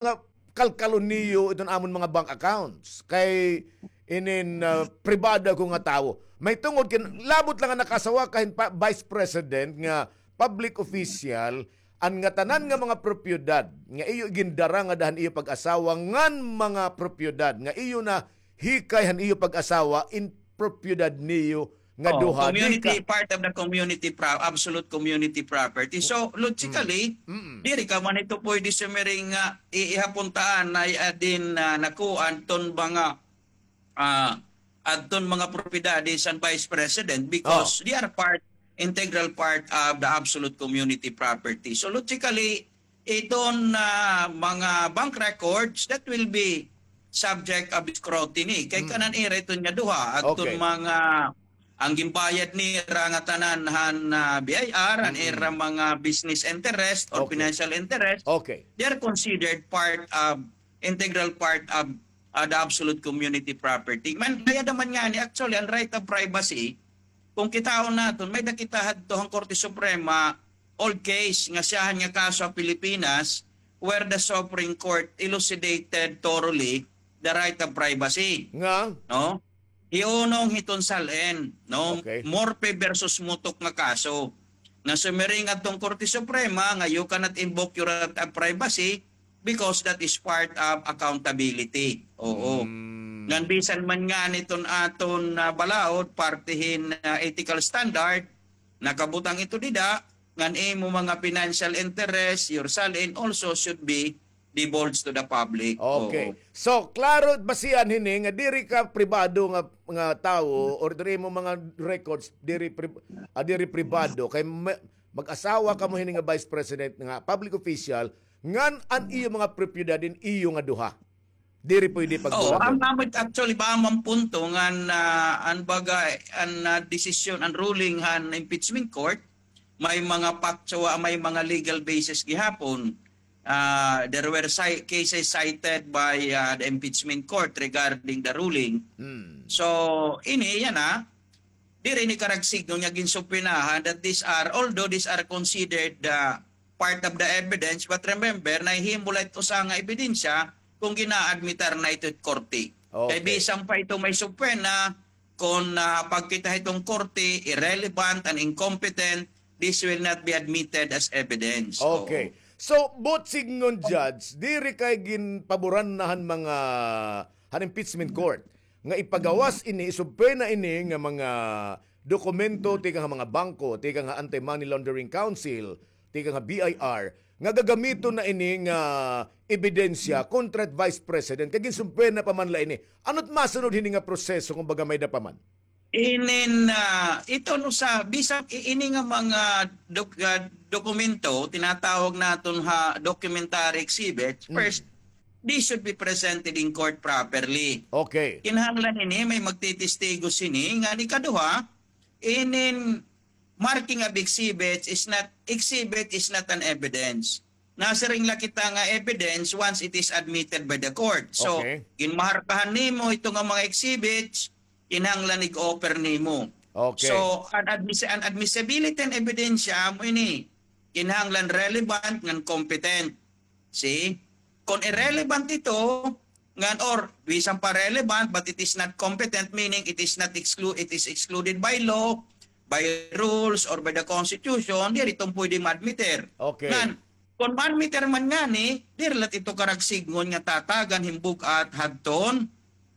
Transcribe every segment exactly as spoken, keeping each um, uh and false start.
nga kalkalon niyo iton amon mga bank accounts. Kay inin, ah, pribado ko nga tawo. May tungod kin, labot la nga nakaasawa ka hin pa, vice president nga public official, an ngatanan nga mga propiedad nga iyo gindara ngada han iyo pag-asawa ngan mga propiedad nga iyo nahikay han iyo pag-asawa in propiedad niyo nga duha, community, part of the community pro-, absolute community property. So, logically, diri ka man ito pwede sumiring nga iihapuntaan na adin, ah, nakuan ton mga, ah, adton mga propiedades an vice president because they are part, integral part of the absolute community property. So, logically, iton, ah, mga bank records that will be subject of scrutiny. Kay kanan ira iton nga duha, adton mga, an ginbayad nira ngatanan han, ah, B I R, an ira mga business interest or financial interest, they are considered part of, integral part of, ah, the absolute community property. Man, kay ada man ngani, actually, an right of privacy, kon kitaon naton, may-ada kita hadto han Korte Suprema, old case nga siyahan nga kaso ha Pilipinas where the Supreme Court elucidated thoroughly the right of privacy. Nga? No? Hiunong hiton SALN, no? Okay. Morpe versus Mutok nga kaso. Nga sumiring adton Korte Suprema nga you cannot invoke your right of privacy because that is part of accountability. Oo. Ngan bisan man ngani iton aton, ah, balaod, parte hin, ah, ethical standard, nakabutang ito dida, ngan imo mga financial interest, your SALN also should be divulged to the public. Okay. Oo. So, klaro basihan hini nga diri ka pribado nga, nga tawo or diri mo mga records, diri pri-, ah, diri pribado kay ma-, mag-asawa kamo hini nga vice president nga public official, ngan an iyo mga propiedad in iyo nga duha. Diri pwede pagduha. Oh, ang, ang actually ba man punto nga an, ah, an baga, an, ah, desisyon, an ruling han impeachment court, may mga factual, may mga legal basis gihapon. Ah, there were ci-, cases cited by, ah, the impeachment court regarding the ruling. So, ini, yana, diri ini karagsignon nga ginsubpoenahan that these are, although these are considered, ah, part of the evidence, but remember, nahihimo la it usa nga ebidensya kon gina-admitar na ito it korte. Okay. Kay bisan pa ito may subpoena, kon, ah, pagkita hiton korte, irrelevant and incompetent, this will not be admitted as evidence. Okay. Oo. So, buot sidngon, Judge, diri kay ginpaboran na han mga, han impeachment court nga ipagawas ini, isubpoena ini nga mga dokumento tikang ha mga bangko, tikang ha Anti-Money Laundering Council, tikang ha B I R, nga gagamiton na ini nga ebidensya kontra it Vice President, kay ginsubpoena pa man la ini. Ano it masunod hini nga proseso kon baga may-ada pa man? Inin, ah, ito no sa, bisan i-, ini nga mga dok-, ah, dokumento, tinatawag naton ha documentary exhibits, first, this should be presented in court properly. Okay. Kinahanglan ini, may magtitestigo sini, ngan ikaduha, inin marking of exhibits is not, exhibit is not an evidence. Nasiring la kita nga evidence once it is admitted by the court. So, okay, ginmaharkahan nimo ito nga mga exhibits, kinahanglan ig-offer nimo. Okay. So, an admis-, an admissibility an ebidensya amo ini, kinahanglan relevant ngan competent. See? Kon irrelevant ito, ngan or bisan pa relevant but it is not competent, meaning it is not exclu-, it is excluded by law, by rules, or by the constitution, diri ito pwede ma-admitter. Okay. Ngan, kon ma-admitter man ngani, diri la ito karagsidngon nga tatagan hin bug-at hadton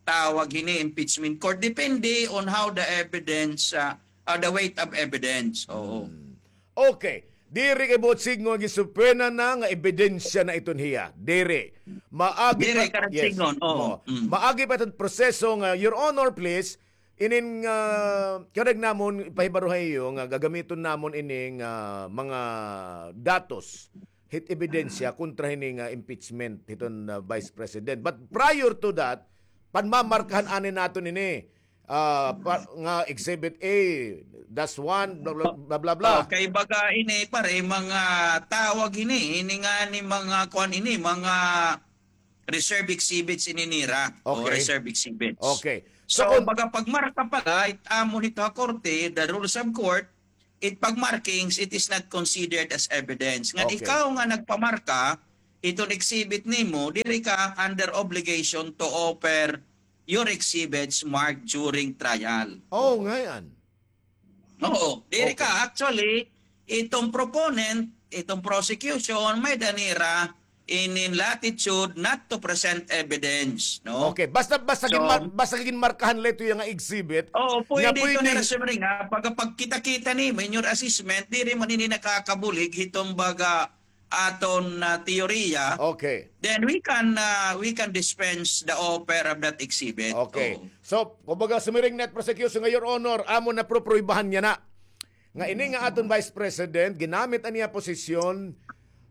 tawag hini impeachment court. Depende on how the evidence, ah, ah, the weight of evidence. Oo. Hmm. Okay. Diri kay buot sidngon nga ginsubpoena na nga ebidensya na iton hiya. Diri. Maagi pa, diri karagsidngon, oo. Maagi pa iton proseso nga, Your Honor, please, inin nga, karuyag namon ipahibaro ha iyo nga gagamiton namon ini nga mga datos hit ebidensya kontra hini nga impeachment hiton, ah, Vice President. But prior to that, panmamarkahan anay naton ini, ah, pa, nga Exhibit A, dash one, blah, blah, blah, blah, blah. Oh, kay baga ini, pare, mga tawag ini, ini ngani mga kuan ini, mga reserve exhibits ini nira. O, okay, reserve exhibits. Okay. So, so, kung baga pagmarka pala, it amo hito ha korte, the rules of court, it pagmarkings, it is not considered as evidence. Ngan, okay, ikaw nga nagpamarka, iton exhibit nimo, diri ka under obligation to offer your exhibits marked during trial. Oh, ngay-an. Oo, diri ka. Okay. Actually, itong proponent, itong prosecution, may-ada nira inin latitude not to present evidence, no? Okay, basta, basta So, ginmar-, basta ginmarkahan la ito nga exhibit, oo, nga pwede ito pwede nira sumiring, ha, pagka pagkita-kita nimo in your assessment, diri man ini nakakabulig hitong baga aton, ah, teorya, Okay. then we can, ah, we can dispense the offer of that exhibit. Okay. Oo. So, kumbaga, sumiring na it prosecution nga, Your Honor, amo na, prupribahan niya na nga ini nga aton Vice President, ginamit an iya posisyon,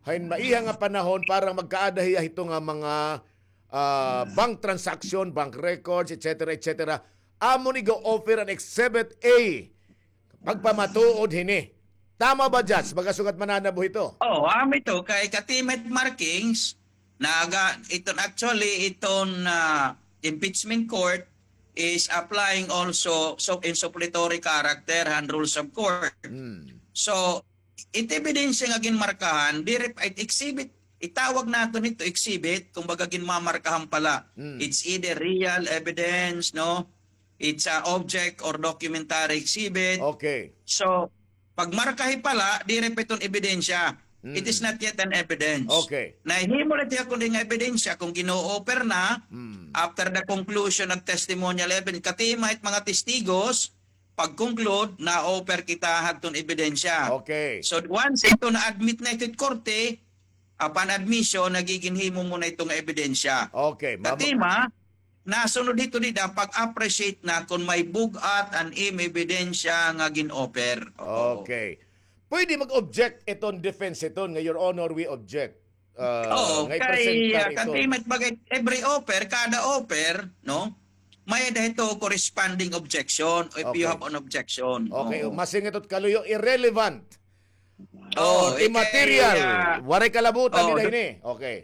hain maiha nga panahon para magkaada hiya hito nga mga, ah, bank transaction, bank records, et cetera, et cetera. Amo ni ga-offer an Exhibit A. Pagpamatuod hini. Tama ba, Judge? Baga sugad mananabo hito. Oo, amo ito. Kay katima it markings, naga, iton actually, iton, ah, impeachment court is applying also so in suppletory character han rules of court. Hmm. So, it ebidensya nga ginmarkahan, diri pa it exhibit, itawag naton ito exhibit, kumbaga ginmamarkahan pa la. Hmm. It's either real evidence, no? It's a object or documentary exhibit. Okay. So, pagmarkahi pa la, diri pa iton ebidensya. Mm. It is not yet an evidence. Okay. Nahimo la ito kundi nga ebidensya kung gin-o-offer na, Mm. after the conclusion of testimonial evidence, katima it mga testigos, pag-conclude, na-offer kita hadton ebidensya. Okay. So, once ito na-admit na ito it korte, upon admission, nagiginhimo mo na ito nga ebidensya. Okay, mama- Katima, nasunod hito dida, pag-appreciate na kon may bug-at an imo ebidensya nga gin-offer. Oo. Okay. Pwede mag-object iton defense iton nga, "Your Honor, we object." Ah, Oo, nga kay, ipresenta ah, iton. Katimat bagay, every offer, kada offer, no? May-ada hito corresponding objection if you Okay. have an objection. Okay, Oo. Masingit ot kaluyo, irrelevant. Oo, Oh, eh, immaterial. Kay, ah, Waray kalabutan oh, nila the ini. Okay.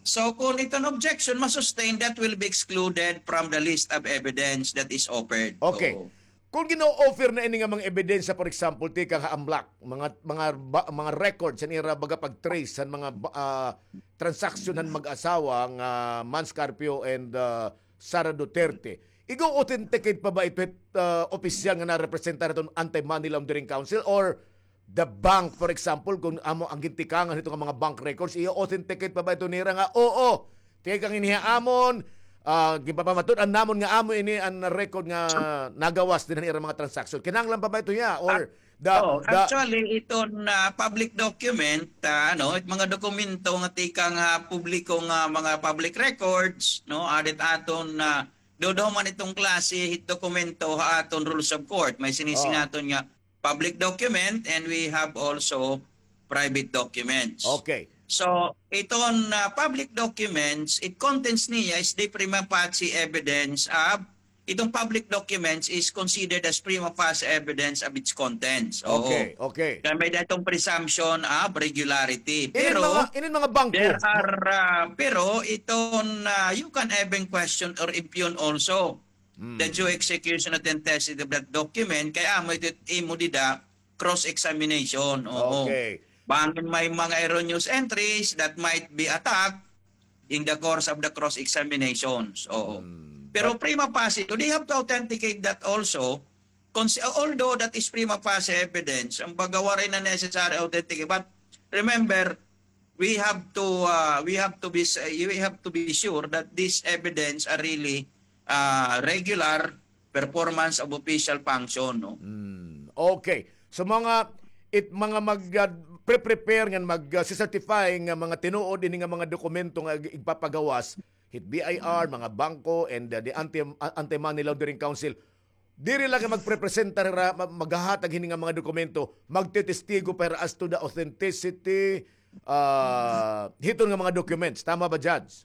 So, kung iton objection ma-sustain, that will be excluded from the list of evidence that is offered. Okay. Oo. Kung gin-o-offer na ini nga mga ebidensya, for example, tikang ha AMLAC, mga, mga ba-, mga records han ira baga pag-trace han mga ba-, ah, transaksyon han mag-asawa nga Mans Carpio and, ah, Sara Duterte. Igo-authenticate pa ba ito hit, ah, opisyal nga narepresentar hiton Anti-Money Laundering Council or the bank, for example, kung amo an gintikangan hito nga mga bank records, i-authenticate pa ba ito nira nga, "Oo, tikang ini ha amon, ah, ginpapamatud-an namon nga amo ini an record nga nagawas dinhi han ira mga transaksyon." Kinahanglan pa ba ito hiya? Or Ac-, the, oh, the actually, iton, ah, public document, ah, ano, it mga dokumento nga tikang, ah, publiko nga mga public records, no, aada it aton, ah, duduha man iton klase hit dokumento ha aton rules of court. May sinisiring Oh. naton nga public document and we have also private documents. Okay. So, iton, ah, public documents, it contents niya is the prima facie evidence of, itong public documents is considered as prima facie evidence of its contents. Oo. Okay, okay. Kaya may-ada itong presumption of regularity. Pero, inin mga, inin mga bangko. There are, ah, pero iton, ah, you can even question or impugn also Hmm. the due execution authenticity of that document, kay amo ito imo dida cross-examination. Oo. Okay. Bangin may mga erroneous entries that might be attacked in the course of the cross-examinations. Oo. Hmm. Pero But prima facie, they have to authenticate that also. Cons-, although that is prima facie evidence, an baga waray na necessary authenticate. But remember, we have to, uh, we have to be s-, we have to be sure that this evidence are really, uh, regular performance of official function, no? Hmm, okay. So, mga, it, mga mag, uh, pre-prepare ngan mag, uh, certify nga mga tinuod ini nga mga dokumento nga ig-, igpapagawas, hit B I R, mga bangko, and, uh, the Anti-, uh, Anti-Money Laundering Council. Diri la kay magprepresenta hira, ma-, maghahatag hini nga mga dokumento, magtetestigo pa hira as to the authenticity, ah, hiton nga mga documents. Tama ba, Judge?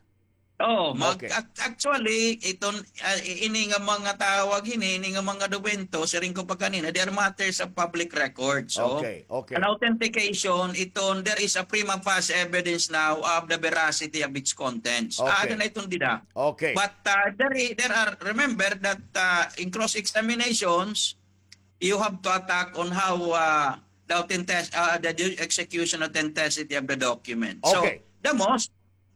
Oo, mag-, Okay. ac-, actually, iton, ah, i-, ini nga mga tawag hini, ini nga mga dokumento, siring ko pa kanina, they are matters of public records. So, Okay, okay. an authentication, iton, there is a prima facie evidence now of the veracity of its contents. Okay. Aada na iton dida. Okay. But, uh, there i-, there are, remember that, uh, in cross-examinations, you have to attack on how, uh, authentic-, ah, the due execution authenticity of the document. So, okay, the most,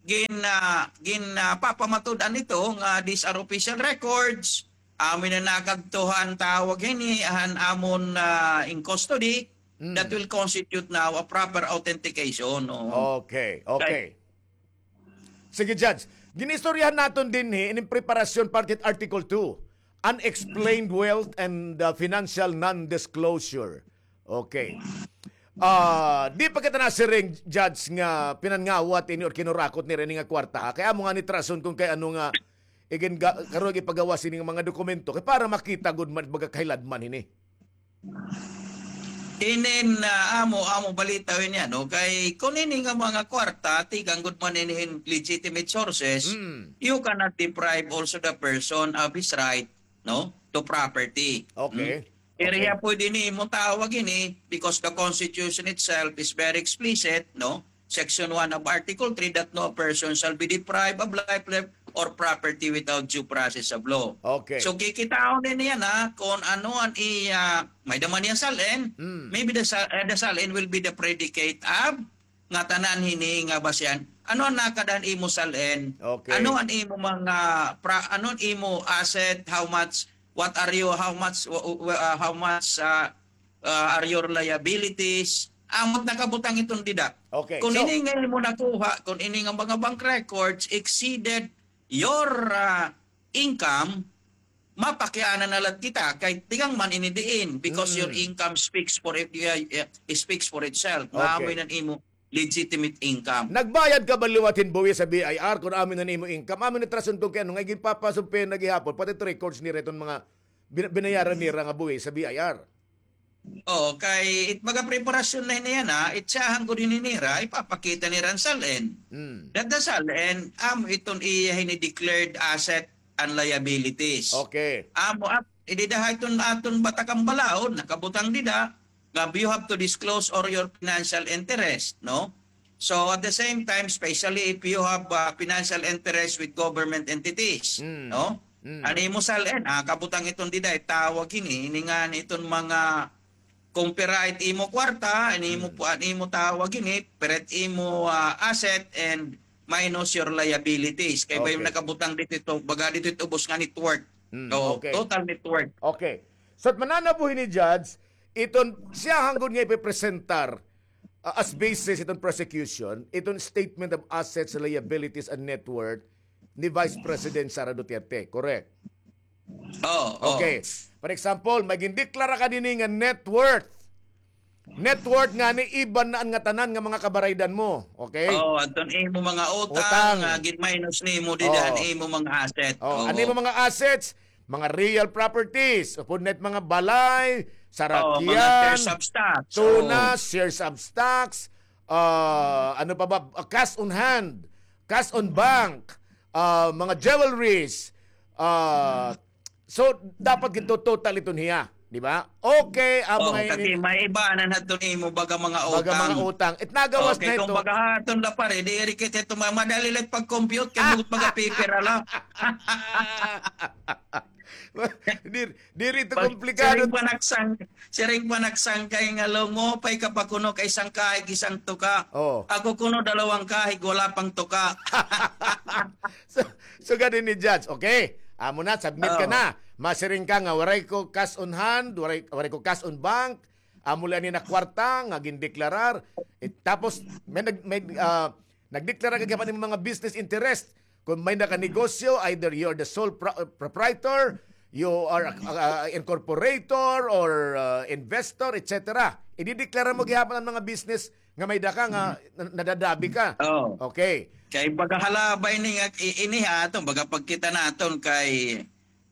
gin, ah, gin, ah, papamatud-an ito nga these are official records, amo na nakadto han tawag hini, han amon, ah, in custody, mm, that will constitute now a proper authentication, no? Okay, okay. Sige, Judge. Ginistoryahan naton dinhi ining preparasyon parte Article two, unexplained wealth and, uh, financial non-disclosure. Okay. Ah, di pa kita nasiring, Judge, nga pinangawat ini or kinurakot nira ini nga kwarta, ha? Kay amo ngani it rason kon kay ano nga igin ga-, karuyag ipagawas ini nga mga dokumento kay para makita gud man, baga, kahiladman hini. Inin, ah, amo, amo balita ini, ano, kay kon ini nga mga kwarta tikang gud man ini hin legitimate sources, mm, you cannot deprive also the person of his right, no, to property. Okay. Hmm? Iriha pwede nimo tawag ini because the Constitution itself is very explicit, no? Section one of Article three, that no person shall be deprived of life, limb, or property without due process of law. Okay. So, kikitaon din niya na kung ano an iya, may-ada man niya sal-in, mm, maybe the sal-, eh, the sal-in will be the predicate of ngatanan hini nga basihan. Ano an nakada han imo sal-in? Okay. Ano an imo mga pra-, ano an imo asset? How much? What are you? How much? Wha-, wha-, uh, how much, uh, uh, are your liabilities? Amo it nakabutang iton dida. Okay, kon so ini nga imo nakuha, kon ini nga mga bank records exceeded your, uh, income, mapakiana na la kita kay tikang man ini diin because your, mm, income speaks for it, uh, uh, speaks for itself. Nga, okay, amo ini an imo legitimate income. Nagbayad ka ba liwat hin buhis sa B I R kon amo ini an imo income? Amo ini it rason kon kay ano nga ginpapasubpena gihapon pati it records nira iton mga bin-, binayaran nira nga buhis sa B I R. Oo, kay it mga preparasyon na hini yana, it siyahan gud hini nira, ipapakita nira an sal-in. Hmm. That the sal-in, amo iton iya hini declared asset and liabilities. Okay. Amo, ap-, idida ha iton aton batakan balaod, nakabutang dida, nga you have to disclose all your financial interest, no? So, at the same time, especially if you have, uh, financial interest with government entities, mm, no? Mm. An imo sal-in, ah, kabutang iton dida, itawag hini, ini ngani iton mga, kon pira it imo kwarta, an imo, mm, pu-, an imo tawag hini, pira it imo, ah, asset and minus your liabilities. Kay may, okay, nakabutang didto, baga didto it ubos nga net worth. Mm, so, okay, total net worth. Okay. So, it mananabo hini, Judge, iton siyahan gud nga ipipresentar, ah, as basis iton prosecution, iton statement of assets, liabilities, and net worth ni Vice President Sara Duterte, correct? Oo, oo. Okay. For example, may gindeklara ka dinhi nga net worth. Net worth ngani iban na an ngatanan nga mga kabaraydan mo. Okay? Oo, adton imo mga utang, utang, ah, gin-minus nimo dida an imo mga asset. Oo. Oo. An imo mga assets, mga real properties, upod na it mga balay, sarakyan, mga shares of stocks, tunas, oo, shares of stocks, ah, ano pa ba, ah, cash on hand, cash on bank, ah, mga jewelries, ah, so, dapat gito total iton hiya, di ba? Okay, amo nga ini, may iba na hadton imo baga mga utang. Baga mga utang. It nagawas na ito. Okay, kumbaga hadton la pare, diri kita ito ma-, madali la it pag-compute kay mga paper la. Diri, diri ito komplikado. Siring pa nagsang-, siring pa nagsangkay nga, "Lo, maupay ka pa kuno kay isang kahig, isang tuka. Oo. Ako kuno dalawang kahig, wala pang tuka." So, sugad ini, Judge. Okay. Amo na, submit ka na. Masiring ka nga, "Waray ko cash on hand, waray, waray ko cash on bank. Amo la ini nga kwarta nga gindeklarar." Eh, tapos, may nag-, may, ah, nagdeklara ka gihapon hin mga business interest. Kon may-ada ka negosyo, either you're the sole pro-, proprietor, you are a, a, a incorporator or, uh, investor, et cetera. Idideklara mo gihapon an mga business nga may-ada ka nga na-, nadadabi ka. Oo. Okay. Kay baga hala ba ini nga i-, ini ha aton, baga pagkita naton kay,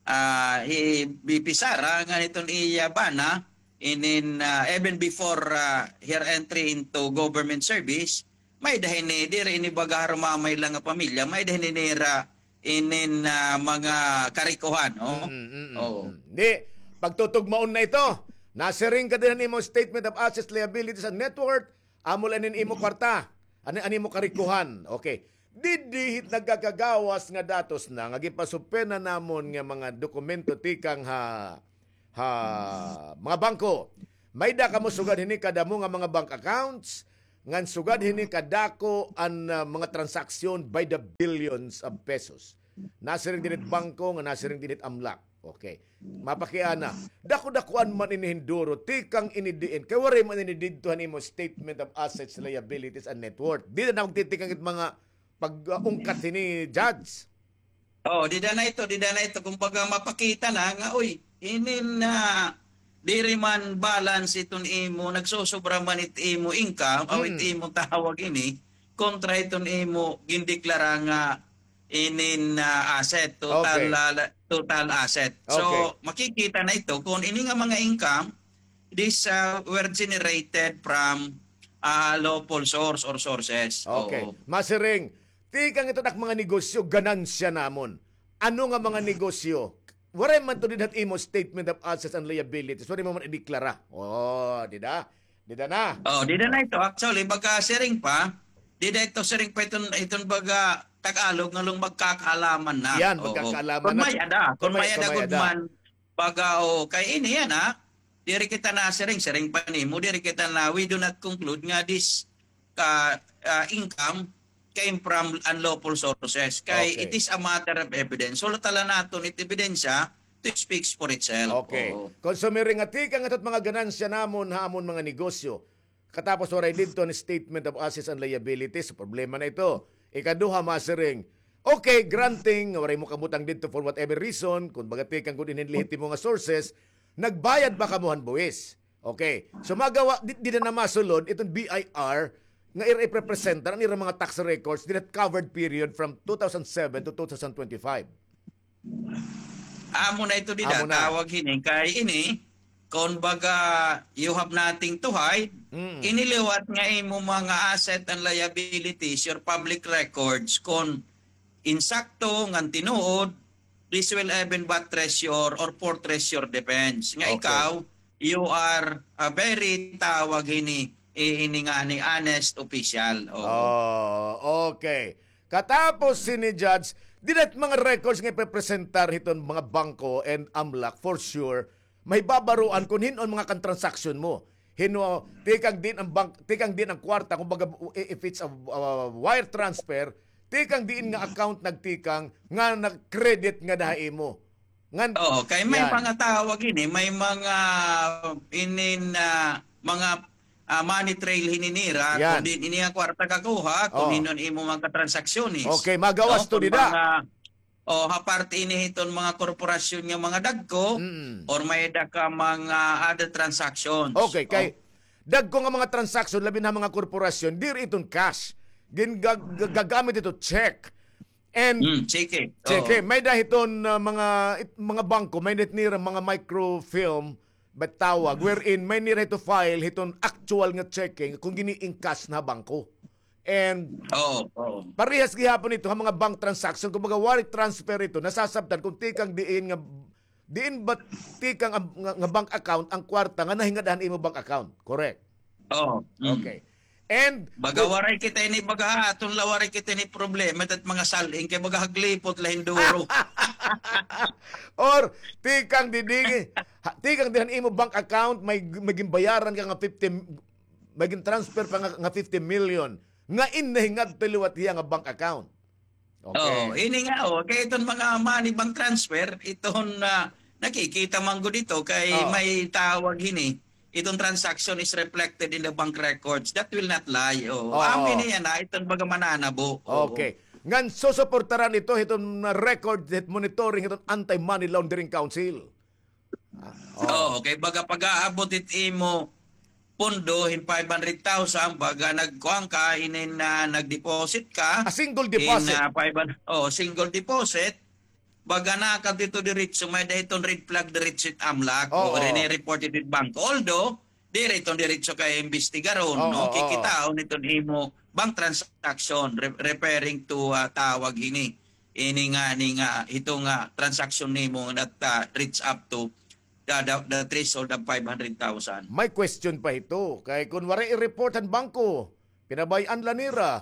ah, hi V P Sara nga iton iya bana, inin, ah, even before, ah, her entry into government service, may-ada hini, diri ini baga harumamay la nga pamilya, may-ada hini nira inin, ah, mga karikohan, oh. Mm, mm, mm, oo, mm. Di, pagtutugmaon na ito. Nasiring ka dinhi han imo statement of assets, liabilities, and net worth. Amo la inin imo kwarta. An, an imo karikohan. Okay. Didi hit nagkakagawas nga datos na nga ginpasubpena namon nga mga dokumento tikang ha, ha mga bangko. May-ada kamo sugad hini kadamo nga mga bank accounts, ngan sugad hini kadako an, ah, mga transaksyon by the billions of pesos. Nasiring dinhi it bangko, nga nasiring dinhi it amlak. Okay. Mapakiana. Dako-dakuan man ini hinduro, tikang ini diin. Kay waray man ini didto han imo statement of assets, liabilities, and net worth. Dida na magtitikang it mga pag-, ah, ungkat hini, Judge. Oh, dida na ito, dida na ito. Kumbaga, mapakita na nga, uy, inin na diri man balance iton imo, nagsusobra man it imo income, o it imo tawag ini, kontra iton imo gindeklara nga inin, ah, asset, total, ah, total asset. So, makikita na ito kung ini nga mga income, these, ah, were generated from, ah, lawful source or sources. Okay. Oo. Masiring, tikang ito nak mga negosyo, ganansya namon. Ano nga mga negosyo? Waray man to dida han imo statement of assets and liabilities. Waray mo man ideklara. Oh, dida? Dida na. Oh, dida na ito. Actually, baga siring pa, dida ito siring pa iton, iton baga Tagalog nga lung magkakaalaman na. Yan, oo, magkakaalaman na. Kung may-ada, kung may-ada gud man, baga, oh, kay ini yana, diri kita nasiring, siring pa nimo, diri kita na, we do not conclude nga this ka, ah, income came from unlawful sources. Kay it is a matter of evidence. Sulata la naton it ebidensya, it speaks for itself. Okay. Oo. Kon sumiring nga tikang ito mga ganansya namon ha amon mga negosyo. Katapos waray didto an statement of assets and liabilities. Problema na ito. Ikaduha, masiring, okay, granting, waray mo kabutang didto for whatever reason, kon baga tikang gud inin lehitimo nga sources, nagbayad ba kamo han buwis? Okay. So, magawa, di, dida na masulod, iton B I R, nga ira iprepresentar an ira mga tax records, dida covered period from two thousand seven to two thousand twenty-five. Amo na ito dida, tawag hini, kay ini, kon baga, you have nothing to hide, ini liwat nga imo mga asset and liabilities, your public records, kon insakto, ngan tinuod, this will even buttress your or fortress your defense. Nga ikaw, you are a very, tawag hini, i-, ini nga ni honest official. Oo. Oh, okay. Katapos hini, Judge, dida it mga records nga iprepresentar hiton mga bangko and amlak, for sure, mahibabaroan kon hin-o an mga kan-transaksyon mo. Hin-o, tikang diin an bank, tikang diin an kwarta, kumbaga, i-, if it's a, uh, wire transfer, tikang diin nga account nagtikang nga nag-credit ngada ha imo. Ngan, oo, kay may mga tawag ini, may mga inin, ah, mga, ah, money trail hini nira, kon diin ini nga kwarta kakuha, kon hin-o an imo mga transaksyones. Okay, magawas to dida. O, ha parte ini hiton mga korporasyon nga mga dagko, or may-ada ka mga other transactions. Okay, kay dagko nga mga transaksyon, labi na mga korporasyon, diri iton cash. Gin-, gag-, gag-, gagamit ito check. And cheque. Cheque. May-ada hiton, ah, mga, it-, mga bangko, may-ada hit nira mga microfilm, ba tawag, wherein may nira hito file hiton actual nga cheque kon gini-encash na ha bangko. And parehas gihapon ito ha mga bank transaction, kumbaga wire transfer ito, nasasabtan kon tikang diin nga, diin ba tikang ang, nga, nga bank account ang kwarta nga nahingad-an ha imo bank account. Correct? Oo. Okay. And baga waray kita ini, baga aton la waray kita ini problema, it mga sal-ing kay baga haglipot la hinduro. Or tikang didi, ha, tikang diin ha imo bank account, may, may ginbayaran ka nga fifty, may gin-transfer pa nga, nga fifty million. Nga in nahingadto liwat hiya nga bank account. Okay. Oo, ini nga, oh, kay iton mga money bank transfer, iton, ah, nakikita man gud ito kay may tawag hini, iton transaction is reflected in the bank records. That will not lie. Oh, amo ini yana, iton baga mananabo. Oo. Okay. Ngan susuportaran ito hiton record, hit monitoring hiton Anti-Money Laundering Council. Ah, oo. Oo, kay baga pag-aabot it imo pondo hin five hundred thousand, baga nagkuan ka, inin na nag-deposit ka. A single deposit. In, ah, five hundred, oh, single deposit. Baga nakadto diretso, may-ada iton red flag diretso it amlak. Oo. O, rine-report it it bangko. Although, diri iton diretso kay imbestigaron, no? Oo, oo. Kikitaon iton imo bank transaction, re-, referring to, ah, tawag hini. Ini nga, ini nga, hito nga transaction nimo that, ah, reach up to the, the, the threshold of five hundred thousand. May question pa hito. Kay kon waray i-report han bangko, pinabay-an la nira,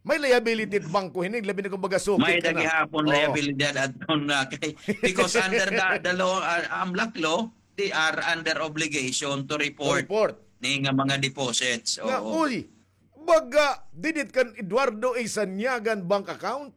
may liability it bangko hini, labi na kon baga sukit ka na. May-ada gihapon liability adton na kay, because under the, the law, ah, amlak law, they are under obligation to report, report ni nga mga deposits. Nga, oo. Uy, baga, didit kan Eduardo A. Sanyagan bank account?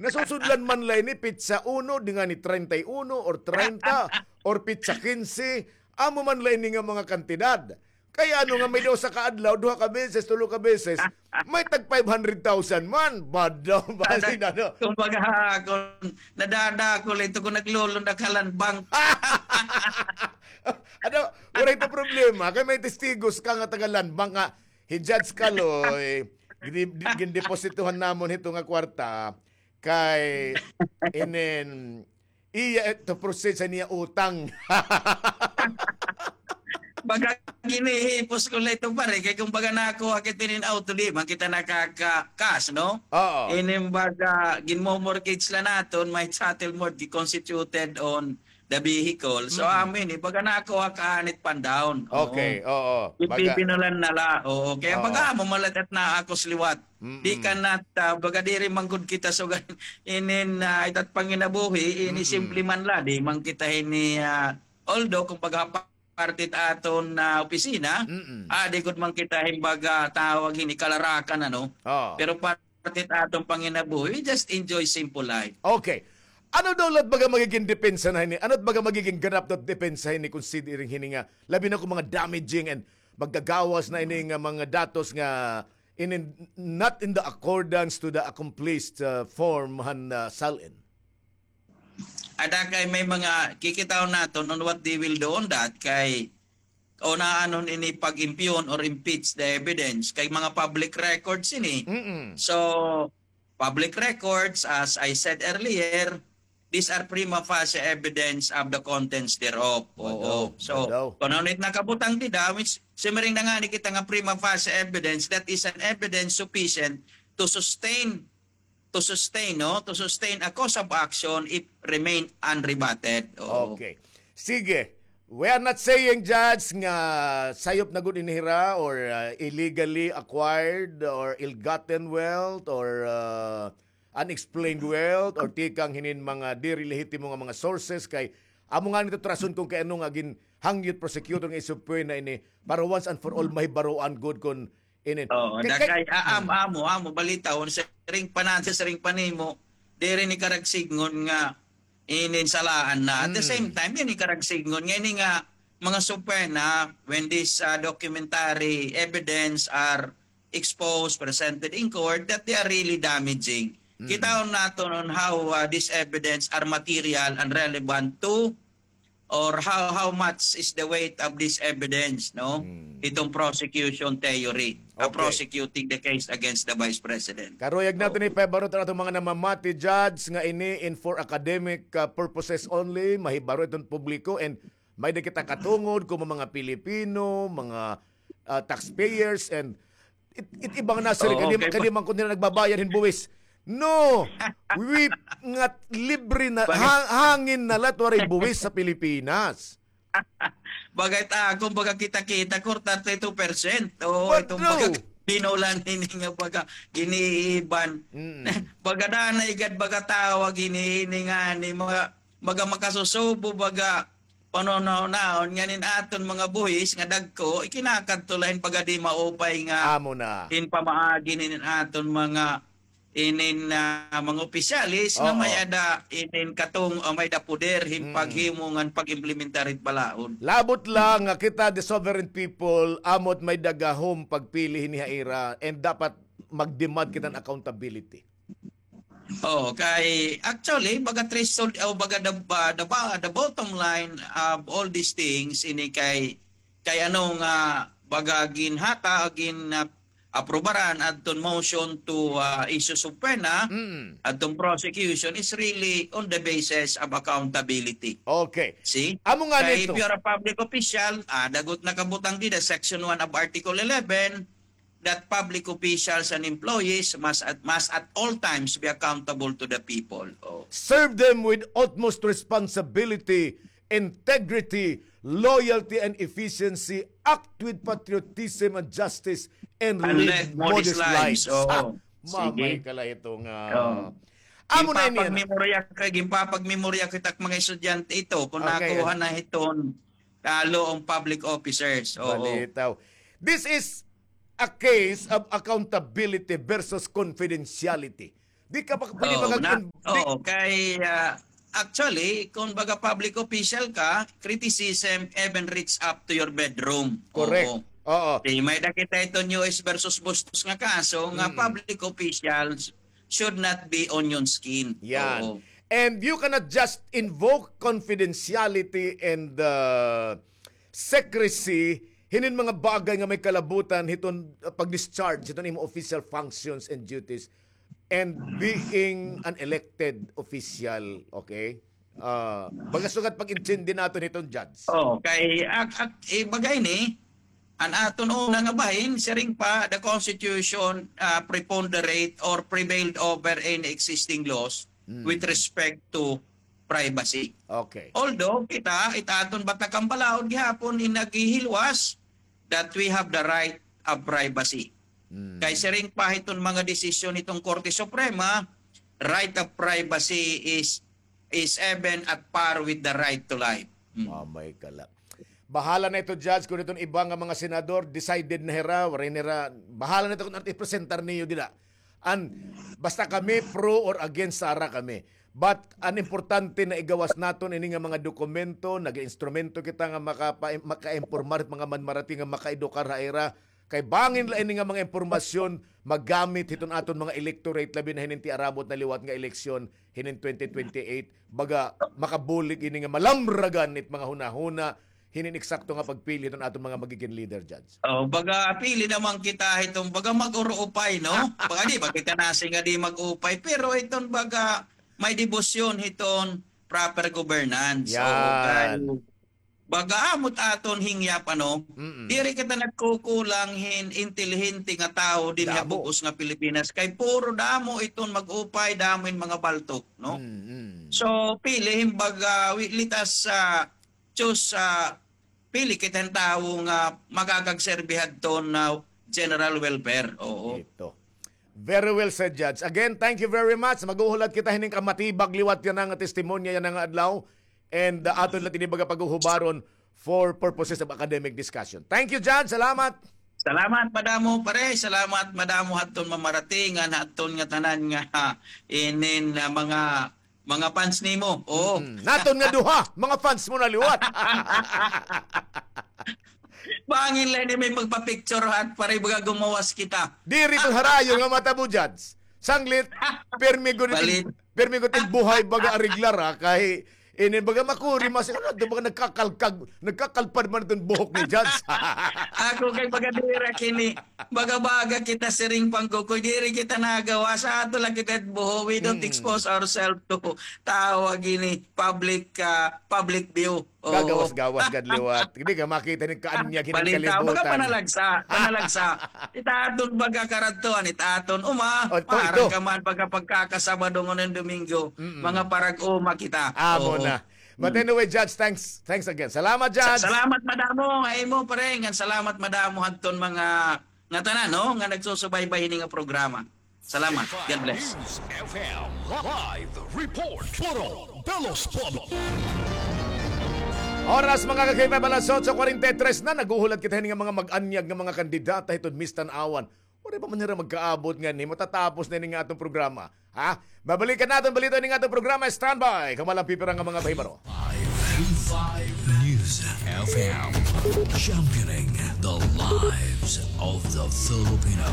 Nasusudlan man la ini petsa uno, di ngani treinta y uno or treinta, or petsa quince, amo man la ini nga mga kantidad. Kay ano nga may usa ka adlaw, duha ka beses, tulo ka beses, may tag five hundred thousand man. Badaw, basin, ano? Kumbaga, kung nadadako la ito kung naglulundak ha land bank. Ano, waray ito problema. Kay may testigos ka nga taga land bank nga, hi Judge Caloy, gin-, gindepositohan namon hito nga kwarta, kay inin iya ito proceed sa niya utang. Baga ginihipos ko la ito, pare, kay kumbaga nakuha kita inin auto, di man kita nakaka-cash, no? Oo. Inin baga ginmo-mortgage la naton, may chattel mortgage constituted on the vehicle. So, amo ini, baga nakuha ka anit pan down. Oo. Okay, oo. Baga ipipinulan na la. Oo, kaya baga amo man la it naakos liwat. Di ka nat, ah, baga diri man gud kita sugal inin, ah, itat panginabuhi, ini simple man la, di man kita ini, ah, although kung baga parte it aton, ah, opisina, ah, di gud man kita hin baga tawag hini kalarakan, ano? Oo. Pero parte it aton panginabuhi, we just enjoy simple life. Okay. Ano daw la it baga magiging depensa na hini? Ano it baga magiging ganap na depensa hini kung siring hini nga labi na kung mga damaging and magagawas na ini nga mga datos nga in, in, not in the accordance to the accomplished, uh, form han, uh, SALN? Ada kay may mga kikitaon naton on what they will do on that kay o naanon ini pag-impeon or impeach the evidence kay mga public records ini. So, public records, as I said earlier, these are prima facie evidence of the contents thereof. Oo. So, kung ano it nakabutang dida, which, siring na ngani kita nga prima facie evidence, that is an evidence sufficient to sustain, to sustain, no? To sustain a cause of action if remain unrebutted. Oo. Okay. Sige. We are not saying, Judge, nga sayop na gud ini hira or, uh, illegally acquired or ill-gotten wealth or, uh, unexplained wealth or tikang hinin mga diri lehitimo nga mga sources kay amo ngani it rason kung kay ano nga ginhangyo it prosecutor nga isubpoena ini para once and for all mahibaroan gud kun inin. Oo, kay, kay, ah, am-, amo, amo, balita, on siring pa naton, siring pa nimo, diri ini karagsidngon nga inin salaan na. At the same time, ini karagsidngon nga ini nga mga subpoena, when this, ah, documentary evidence are exposed, presented in court, that they are really damaging. Kitaon naton on how, ah, this evidence are material and relevant to or how, how much is the weight of this evidence, no? Itong prosecution theory, uh, prosecuting the case against the Vice President. Karuyag naton ipahibaroan aton mga namamati, Judge, nga ini in for academic, uh, purposes only, mahibaro iton publiko, and may-ada kita katungod kon mga Pilipino, mga, uh, taxpayers, and It, it iba nga, sir, kay di man kuno nagbabayad hin buwis. No! We, nga libre na, hangin na la it waray buwis sa Pilipinas. Baga it akon, baga kita-kita, kor thirty-two percent. Oo, itong baga binulan ini nga baga giniiban. Baga danay gad, baga tawag ini, ini ngani, mga, baga makasusubo, baga panunahon ngan in aton mga buhis nga dagko, ikinakadto la hin baga di maupay nga hin pamaagi nin aton mga inin, ah, mga opisyales nga may-ada inin katong, ah, may-ada poder hin paghimo ngan pag-implementar hit balaod. Labot la nga kita, the sovereign people, amo it may-ada gahom pagpili hini ha ira, and dapat mag-demand kita hin accountability. Oh, kay actually, baga threshold, o baga the, uh, the ba-, the bottom line of all these things, ini kay, kay ano nga, baga ginhatag, gin, uh, aprubaran adton motion to, uh, issue subpoena, adton prosecution is really on the basis of accountability. Okay. See? Amo nga kay nito, if you are a public official, ah, dagko it nakabutang dida, section one of Article eleven, that public officials and employees must at, must at all times be accountable to the people. Oh. Serve them with utmost responsibility, integrity, loyalty, and efficiency. Act with patriotism and justice, and live modest lives. Oo. Sige. Mamay ka la ito nga. Oo. Amo na ini, ginpapagmemorya ko, ginpapagmemorya ko hit ak mga estudyante ito, kon nakuha na hiton ah, law on public officers. Oo. Balitaw. This is a case of accountability versus confidentiality. Di ka pa pwede Oo, na, magag-, di oo, kay, ah, actually, kung baga public official ka, criticism even reach up to your bedroom. Correct. Oo. Oo. Di, may-ada kita iton U S versus Bustos nga kaso nga Mm. public officials should not be onion skin. Yan. Oo. And you cannot just invoke confidentiality and, uh, secrecy hinin mga bagay nga may kalabutan hiton, uh, pag-discharge hiton imo official functions and duties and being an elected official, okay? Ah, baga sugad pag-intindi naton hiton, Judge. Oh, kay ak-, ak-, eh, baga ini, an aton una nga bahin, siring pa, the Constitution, ah, preponderate or prevailed over any existing laws Mm. with respect to privacy. Okay. Although, kita, it aton batakang balaod gihapon in naghihilwas that we have the right of privacy. Mm. Kay siring pa hiton mga desisyon hiton Korte Suprema, right of privacy is, is even at par with the right to life. Mm. Mamay ka la. Bahala na ito, Judge, kung iton iba nga mga senador, decided na hira, waray nira, bahala na ito kung ano ipresentar niyo dida. An, basta kami, pro or against, sara kami. But an importante na igawas naton ini nga mga dokumento, nag-instrumento kita nga makapa-, makainformar hit mga manmarati nga makaedukar ha ira. Kay bangin la ini nga mga impormasyon magamit hiton aton mga electorate, labi na hinin tiarabot na liwat nga eleksyon hinin twenty twenty-eight. Baga makabulig ini nga malamragan it mga hunahuna hinin eksakto nga pagpili hiton aton mga magigin leader, Judge. Oh, baga pili naman kita hiton baga mag-uruupay, no? Baga di ba kita nasi nga di mag-upay, pero hiton baga may debosyon hiton proper governance. So, Yan. kay baga amo it aton hingyap, ano? Mm-mm. Diri kita nagkukulang hin intelihente nga tawo dinhi ha Damo. bug-os nga Pilipinas. Kay puro damo iton mag-upay, damo in mga baltok, no? Mm-mm. So, pili hin baga, wi-, let us, ah, choose, ah, pili kita hin tawo nga makakagserbi hadton, ah, general welfare. Oo. Ito. Very well said, Judge. Again, thank you very much. Maghuhulat kita hinin kamatibag liwat yana nga testimonya yana nga adlaw. And, uh, aton la ini baga paghuhubaron for purposes of academic discussion. Thank you, Judge. Salamat. Salamat madamo, pare. Salamat madamo hadton mamarating, ngan hadton ngatanan nga, ha, inin, ah, mga, mga fans nimo. Oo. Mm-mm. Naton nga duha, mga fans mo na liwat. Bangin la ini may magpa-picture hat, pare, baga gumawas kita. Diri to harayo nga matabo, Judge. Sanglit, pirmi gud it, Balit. pirmi gud it buhay baga ariglar, ha, kay ini baga makuri mas, ano, baga nagkakalkag, nagkakalpad man iton buhok ni Judge. Ako kay baga dira kini, baga-baga kita siring pangkukoy, diri kita nagawas, ato la kita buho, we don't Mm. expose ourselves to tawag ini, public, ah, public view. Oo. Gagawas-gawas gad liwat. Hindi ka makita ni kaanyag hining Balita, baga kalibutan. Panalagsa, panalagsa. It aton baga karadtuan, it aton uma, O, ito, para ito. ka man baga pagkakasabado ngan Domingo, Mm-mm. mga parag-uma kita. Amo Oo. na. But Mm. anyway, Judge, thanks, thanks again. Salamat, Sa-, Judge. salamat madamo, ha imo, pare, ngan salamat madamo hadton mga ngatanan, no, nga nagsusubaybay hini nga programa. Salamat. God bless. News F M live report. Puro Belos Pueblo. Oras, mga ka-K five, alas otso kwarenta y tres na. Naghuhulat kita hini nga mga mag-anyag nga mga kandidata hiton Miss Tanauan. Waray pa man hira magkaabot nganhi, matatapos na ini nga aton programa. Ha? Babalikan naton balita ini nga aton programa. Standby. Kamo la an pipira nga mga pahibaro. K five News F M, championing the lives of the Filipino.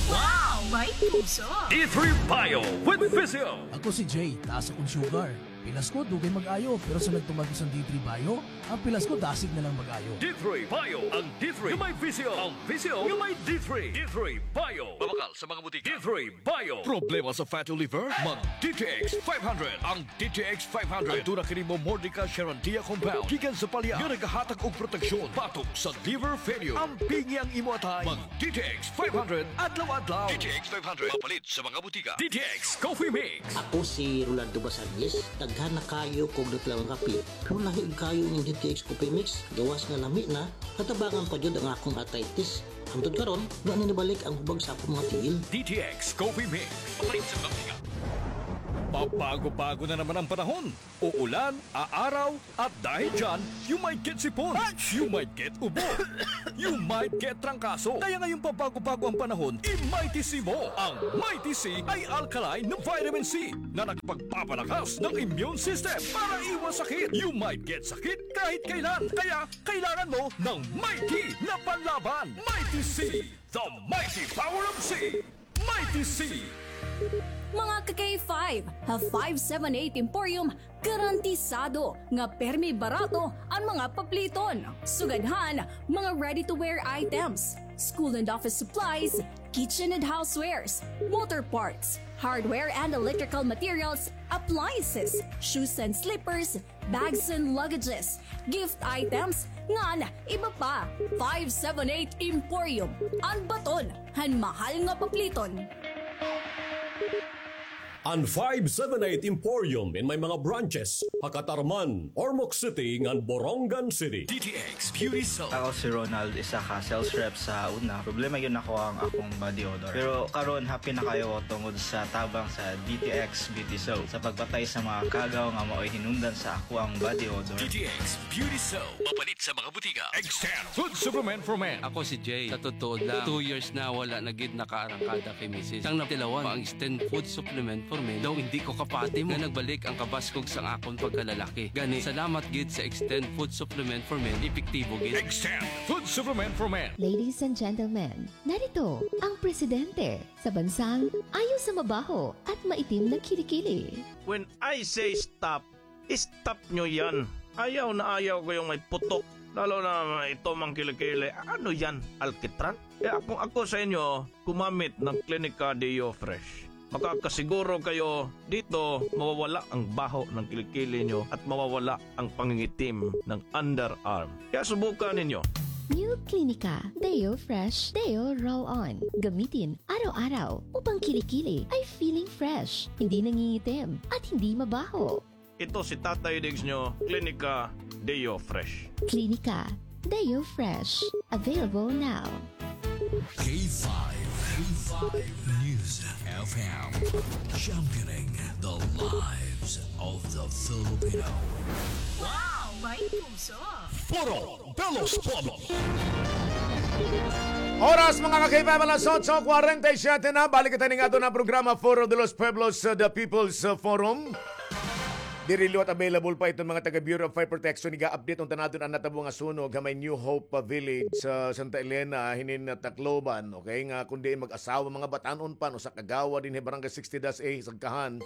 Wow! May puso! D three Bio with Physio. Ako si Jay, taas akon sugar. Pilas ko, dugay mag-ayo, pero sa nagtumag ko sa D three Bio, an pilas ko dasig na lang mag-ayo. D three Bio, ang D three nga may Physio, ang Physio nga may D three. D three Bio. Mabakal sa mga butika. D three Bio. Problema sa fatty liver? Mag D T X five hundred. Ang D T X five hundred. Aduna kini Momordica charantia compound gikan sa palya nga nagahatag og proteksyon batok sa liver failure. Ampingi ang imo atay. Mag D T X five hundred adlaw-adlaw. D T X five hundred. Mapalit sa mga butika. D T X Coffee Mix. Ako si Rolando Basagues. Daghan na kaayo ko og nagtilaw nga kape. Pero lahi kaayo ining D T X Coffee Mix. Gawas nga lami na, natabangan pa jud ang akong arthritis. Hangtod karon, wa na nibalik ang hubag sa akong mga tiil. D T X Coffee Mix. Palit sa mga butika. Pabago-bago na naman ang panahon. Uulan, aaraw, at dahil dyan, you might get sipon, you might get ubo, you might get trangkaso. Kaya ngayong pabago-bago ang panahon, i-Mighty C mo. Ang Mighty C ay alkaline na vitamin C na nagpagpapalakas ng immune system para iwas sakit. You might get sakit kahit kailan. Kaya kailangan mo ng Mighty na panlaban. Mighty C, the mighty power of C. Mighty C. Mga ka-K five, ha five seven eight Emporium, garantisado nga permi barato an mga papliton. Sugad han mga ready-to-wear items, school and office supplies, kitchen and housewares, motor parts, hardware and electrical materials, appliances, shoes and slippers, bags and luggages, gift items, ngan iba pa. Five seven eight Emporium, an baton han mahal nga papliton. An five seven eight Emporium in may mga branches ha Catarman, Ormoc City, ngan Borongan City. D T X Beauty Soap. Ako si Ronald, isa ka sales rep sa una. Problema gyud nako ang akong body odor. Pero karon, happy na kaayo ko tungod sa tabang sa D T X Beauty Soap. Sa pagpatay sa mga kagaw nga maoy hinungdan sa ako ang body odor. D T X Beauty Soap. Mapalit sa mga butika. Extend Food Supplement for Men. Ako si Jay. Sa totoo lang, two years na wala na gid nakaarangkada kay misis. Sang natilawan ang Extend Food Supplement for Men, daw hindi ko kapati mo nga nagbalik ang kabaskog sang akon pagkalalaki. Gani, salamat gid sa Extend Food Supplement for Men, epektibo gid. Extend Food Supplement for Men. Ladies and gentlemen, narito ang presidente sa bansang ayaw sa mabaho at maitim na kilikili. When I say stop, stop nyo yan. Ayaw na ayaw ko yung may putok. Lalo na ito mang kilikili. Ano yan? Alkitran? Kaya kung ako sa inyo, gumamit ng Clinica Deo Fresh. Makakasiguro kayo dito mawawala ang baho ng kilikili nyo at mawawala ang pangingitim ng underarm. Kaya subukan ninyo. New Clinica Deo Fresh Deo Roll On. Gamitin araw-araw upang kilikili ay feeling fresh, hindi nangingitim, at hindi mabaho. Ito si Tatay Diggs nyo, Clinica Deo Fresh. Clinica Deo Fresh. Available now. K five, K five News F M. Championing the lives of the Filipino. Wow! May puso! Foro de los Pueblos. Oras, mga ka-K five, alas otso kwarenta y siyete na. Balik kita ning aton nga programa, Foro de los Pueblos, uh, The People's, uh, Forum. Diri liwat available pa iton mga taga Bureau of Fire Protection. Iga-update unta naton an natabo nga sunog ha may New Hope, uh, Village sa Santa Elena, hinin, uh, Tacloban. Okay, nga kundi mag-asawa, mga batan-on pa, usa ka kagawa dinhi Barangay sixty dash A, Sagkahan,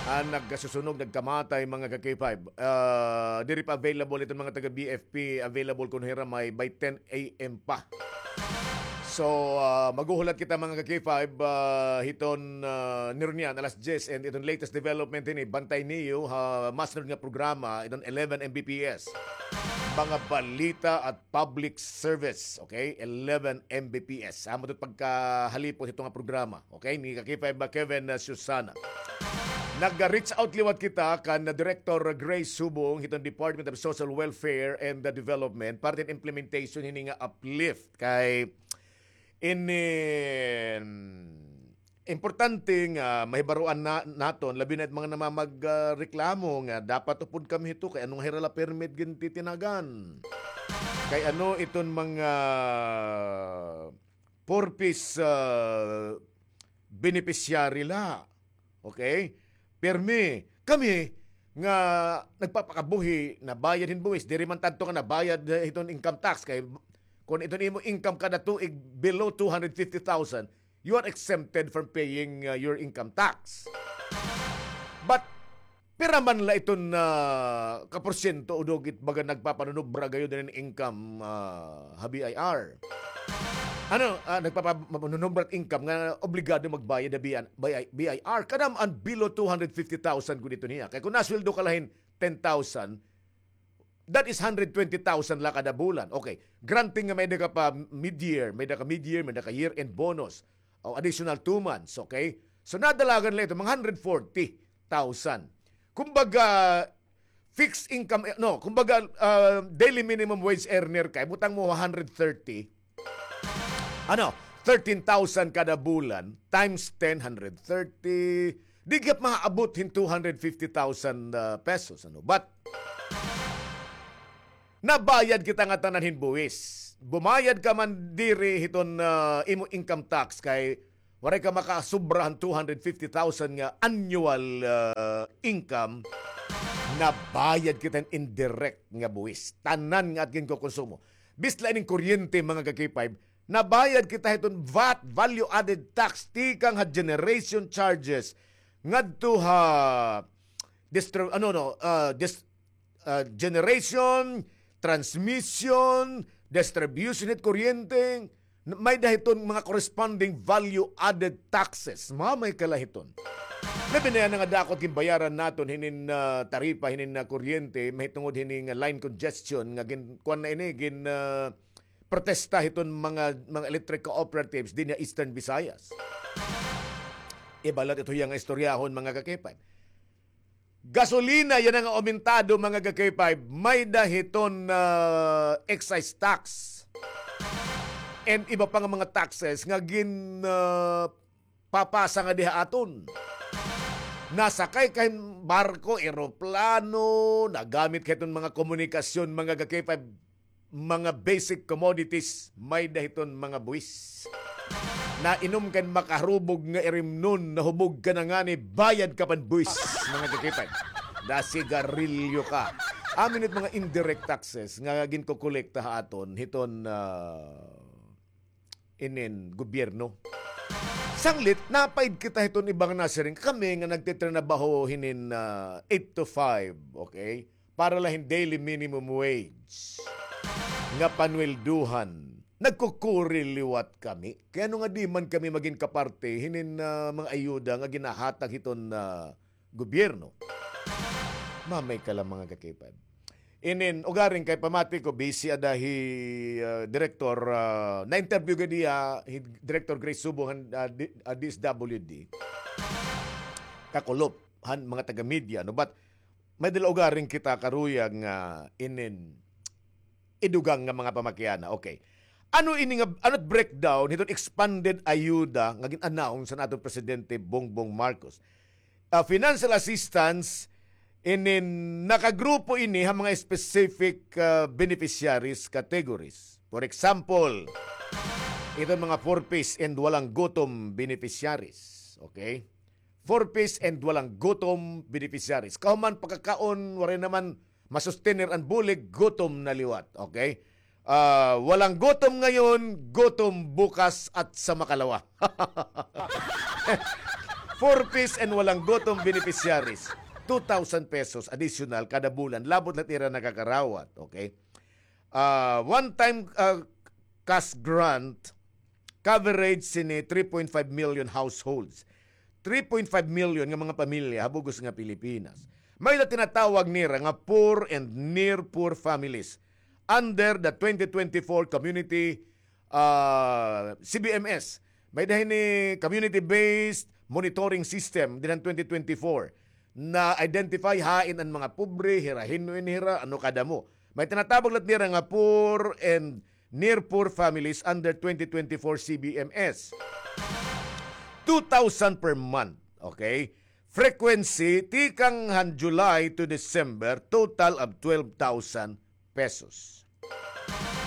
an nagkasusunog, nagkamatay, mga ka-K five. Ah, diri pa available iton mga taga B F P, available kuno hira may by ten A M pa. So, ah, maghuhulat kita, mga ka-K five, ah, hiton, ah, nirunyan, alas diyes, and iton latest development ini, bantay niyo ha masunod nga programa, iton eleven M B P S. Mga balita at public service, okay? Eleven M B P S. Amo ito pagkahalipon hito nga programa, okay? Ni ka-K five ba, Kevin, uh, Susana. Nag-reach out liwat kita kan, uh, Director Grace Subong hiton Department of Social Welfare and, uh, Development para tin implementation hini nga uplift kay inin importante nga mahibaroan na, naton, labi na it mga namamag-, ah, reklamo nga dapat upod kami hito kay ano nga hira la permit gintitinagan. Kay ano iton mga purpose, ah, beneficiary la. Okay? Pirmi, kami nga nagpapakabuhi, nabayad hin buwis, diri man tanto nga nabayad, eh, hiton income tax kay kon iton imo income kada tuig below two hundred fifty thousand, you are exempted from paying, uh, your income tax. But pira man la iton, uh, ka porsyento o dugit baga nagpapanunubra gayon din income, uh, ha B I R? Ano, ah, nagpapanunubra income nga obligado magbayad ha B I R? Kada man below two hundred fifty thousand gud iton hiya. Kay kon nasweldo ka la hin ten thousand, that is hundred twenty thousand la kada bulan. Okay. Granting nga may-ada ka pa mid-year, may-ada ka mid-year, may-ada ka year-end bonus, o additional two months, okay? So, nadalagan la ito, mga hundred forty thousand. Kumbaga, fixed income, eh, no, kumbaga, ah, daily minimum wage earner ka, ibutang mo hundred thirty, ano, thirteen thousand kada bulan, times ten, hundred thirty, Di gihap maabot hin two hundred fifty thousand, ah, pesos, ano? But, nabayad kita nga tanan hin buwis. Bumayad ka man diri hiton, ah, imo income tax kay waray ka makasubra han two hundred fifty thousand nga annual, ah, income, nabayad kita hin indirect nga buwis. Tanan nga aton ginkokonsumo. Bisan la ining kuryente, mga ka-K five, nabayad kita hiton vat, value added tax, tikang ha generation charges, ngadto ha distri-, ano, no, ah, dis-, ah, generation, transmission, distribution hit kuryente, n-, may-ada hiton mga corresponding value added taxes. Mamay kala hiton. Labi na yana nga dako it ginbayaran naton hinin, ah, taripa, hinin, ah, kuryente, mahitungod hini nga line congestion nga gin-, kuan na ini, gin-, ah, protesta hiton mga, mga electric cooperatives dinhi ha Eastern Visayas. Iba la it iya nga istoryahon, mga ka-K five. Gasolina, yana nga aumentado, mga ka-K five, may-ada hiton, ah, excise tax and iba pa nga mga taxes nga gin-, ah, papasa ngadi ha aton. Nasakay ka hin barko, eroplano, nagamit ka hiton mga komunikasyon, mga ka-K five, mga basic commodities, may-ada hiton mga buwis. Nainom ka hin makaharubog nga irimnon, nahubog ka na ngani, bayad ka pa hin buwis, mga ka-K five. Nasigarilyo ka. Amo ini it mga indirect taxes nga ginkokolekta ha aton hiton, ah, inin gobyerno. Sanglit, napaid kita hiton iba nga nasiring, kami nga nagtitrinabaho hinin, ah, eight to five, okay? Para la hin daily minimum wage nga panweldohan. Nagkukuri liwat kami. Kay ano nga di man kami magin kaparte hinin, ah, mga ayuda nga ginahatag hiton, ah, gobyerno. Mamay ka la, mga ka-K five. Inin, ugaring kay pamati ko, busy ada hi, ah, Direktor, ah, na-interview gad hiya hi Director Grace Subo han, ah, D-, ah, D S W D. Kakulop han mga taga-media, no? But may-ada la ugaring kita karuyag nga inin idugang nga mga pamakiana. Okay. Ano ini nga, ano it breakdown hiton expanded ayuda nga gin-announce han aton Presidente Bongbong Marcos? Ah, financial assistance, inin nakagrupo ini ha mga specific, ah, beneficiaries categories. For example, iton mga four Ps and walang gutom beneficiaries. Okay? Four Ps and walang gutom beneficiaries. Kahuman pakakaon, waray naman masustener an bulig, gutom na liwat. Okay? Ah, walang gutom ngayon, gutom bukas at sa makalawa. Four Ps and walang gutom beneficiaries. Two thousand pesos additional kada bulan. Labot la it ira nakakarawat. Okay? Ah, one-time, ah, cash grant coverage sini three point five million households. Three point five million nga mga pamilya ha bug-os nga Pilipinas. May-ada tinatawag nira nga poor and near poor families under the twenty twenty-four community, ah, C B M S. May-ada hini community-based monitoring system dinhi han twenty twenty-four. Na-identify hain an mga pobre, hira hin-o ini hira, ano kadamo. May tinatawag la nira nga poor and near poor families under twenty twenty-four C B M S. Two thousand per month, okay? Frequency, tikang han July to December, total of twelve thousand pesos.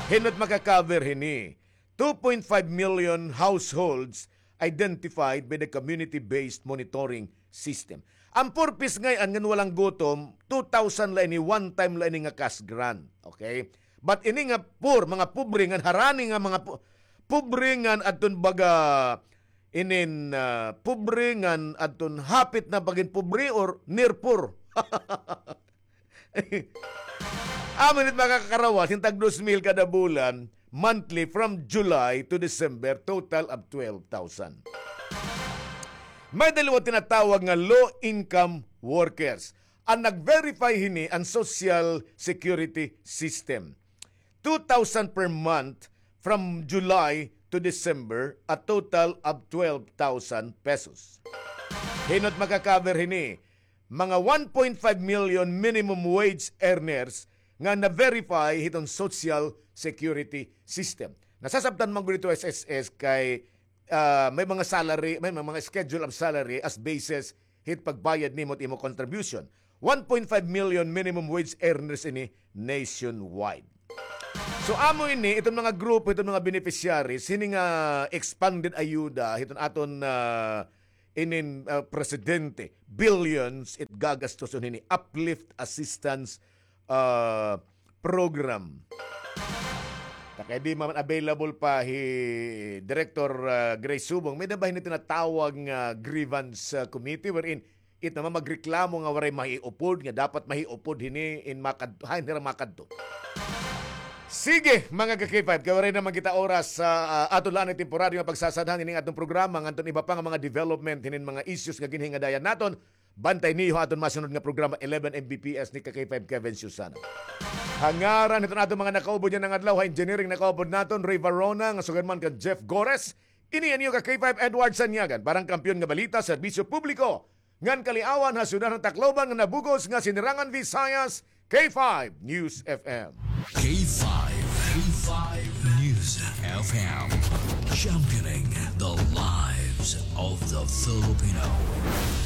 Hin-o it maka-cover hini? Two point five million households identified by the community-based monitoring system. An four Ps ngay-an ngan walang gutom, two thousand la ini, one time la ini nga cash grant. Okay? But ini nga poor, mga pobre ngan harani nga mga po-, pobre ngan adton baga inin, ah, pobre ngan adton hapit na pagin pobre or near poor. Amo ini it makakarawas hin tag dos mil kada bulan, monthly from July to December, total of twelve thousand. May-ada liwat tinatawag nga low-income workers. An nag-verify hini an Social Security System. Two thousand per month from July to December, a total of twelve thousand pesos. Hin-o it maka-cover hini? Mga one point five million minimum wage earners nga na-verify hiton Social Security System. Nasasabtan man gud ito S S S kay, ah, may mga salary, may mga schedule of salary as basis hit pagbayad nimo it imo contribution. One point five million minimum wage earners ini nationwide. So, amo ini, iton mga grupo, iton mga beneficiaries, hini nga expanded ayuda, hiton aton, ah, inin, ah, presidente, billions it gagastuson hini, uplift assistance, ah, program. Ta kay di man available pa hi Director, ah, Grace Subong, may-ada ba hini tinatawag nga grievance, ah, committee wherein it naman magreklamo nga waray mahiupod, nga dapat mahiupod hini in makad-, hain hira makadto. Sige, mga ka-K five, kay waray naman kita oras, ah, ah, aton la anay temporaryo nga pagsasadhan ining aton programa ngadton iba pa nga mga development hinin mga issues nga ginhingadayan naton. Bantay niyo ha aton masunod nga programa, eleven M B P S ni ka-K five Kevin Susana. Ha ngaran hiton aton mga nakaupod yana nga adlaw, ha engineering nakaupod naton, Ray Varona, nga sugad man kan Jeff Gores, ini an iyo ka-K five Edward Sanyagan, para han Kampiyon nga Balita, Serbisyo Publiko, ngan Kaliawan ha siyudad han Tacloban nga nabug-os nga Sinirangan Visayas, K five News F M. K five, K five News F M. Championing the lives of the Filipino.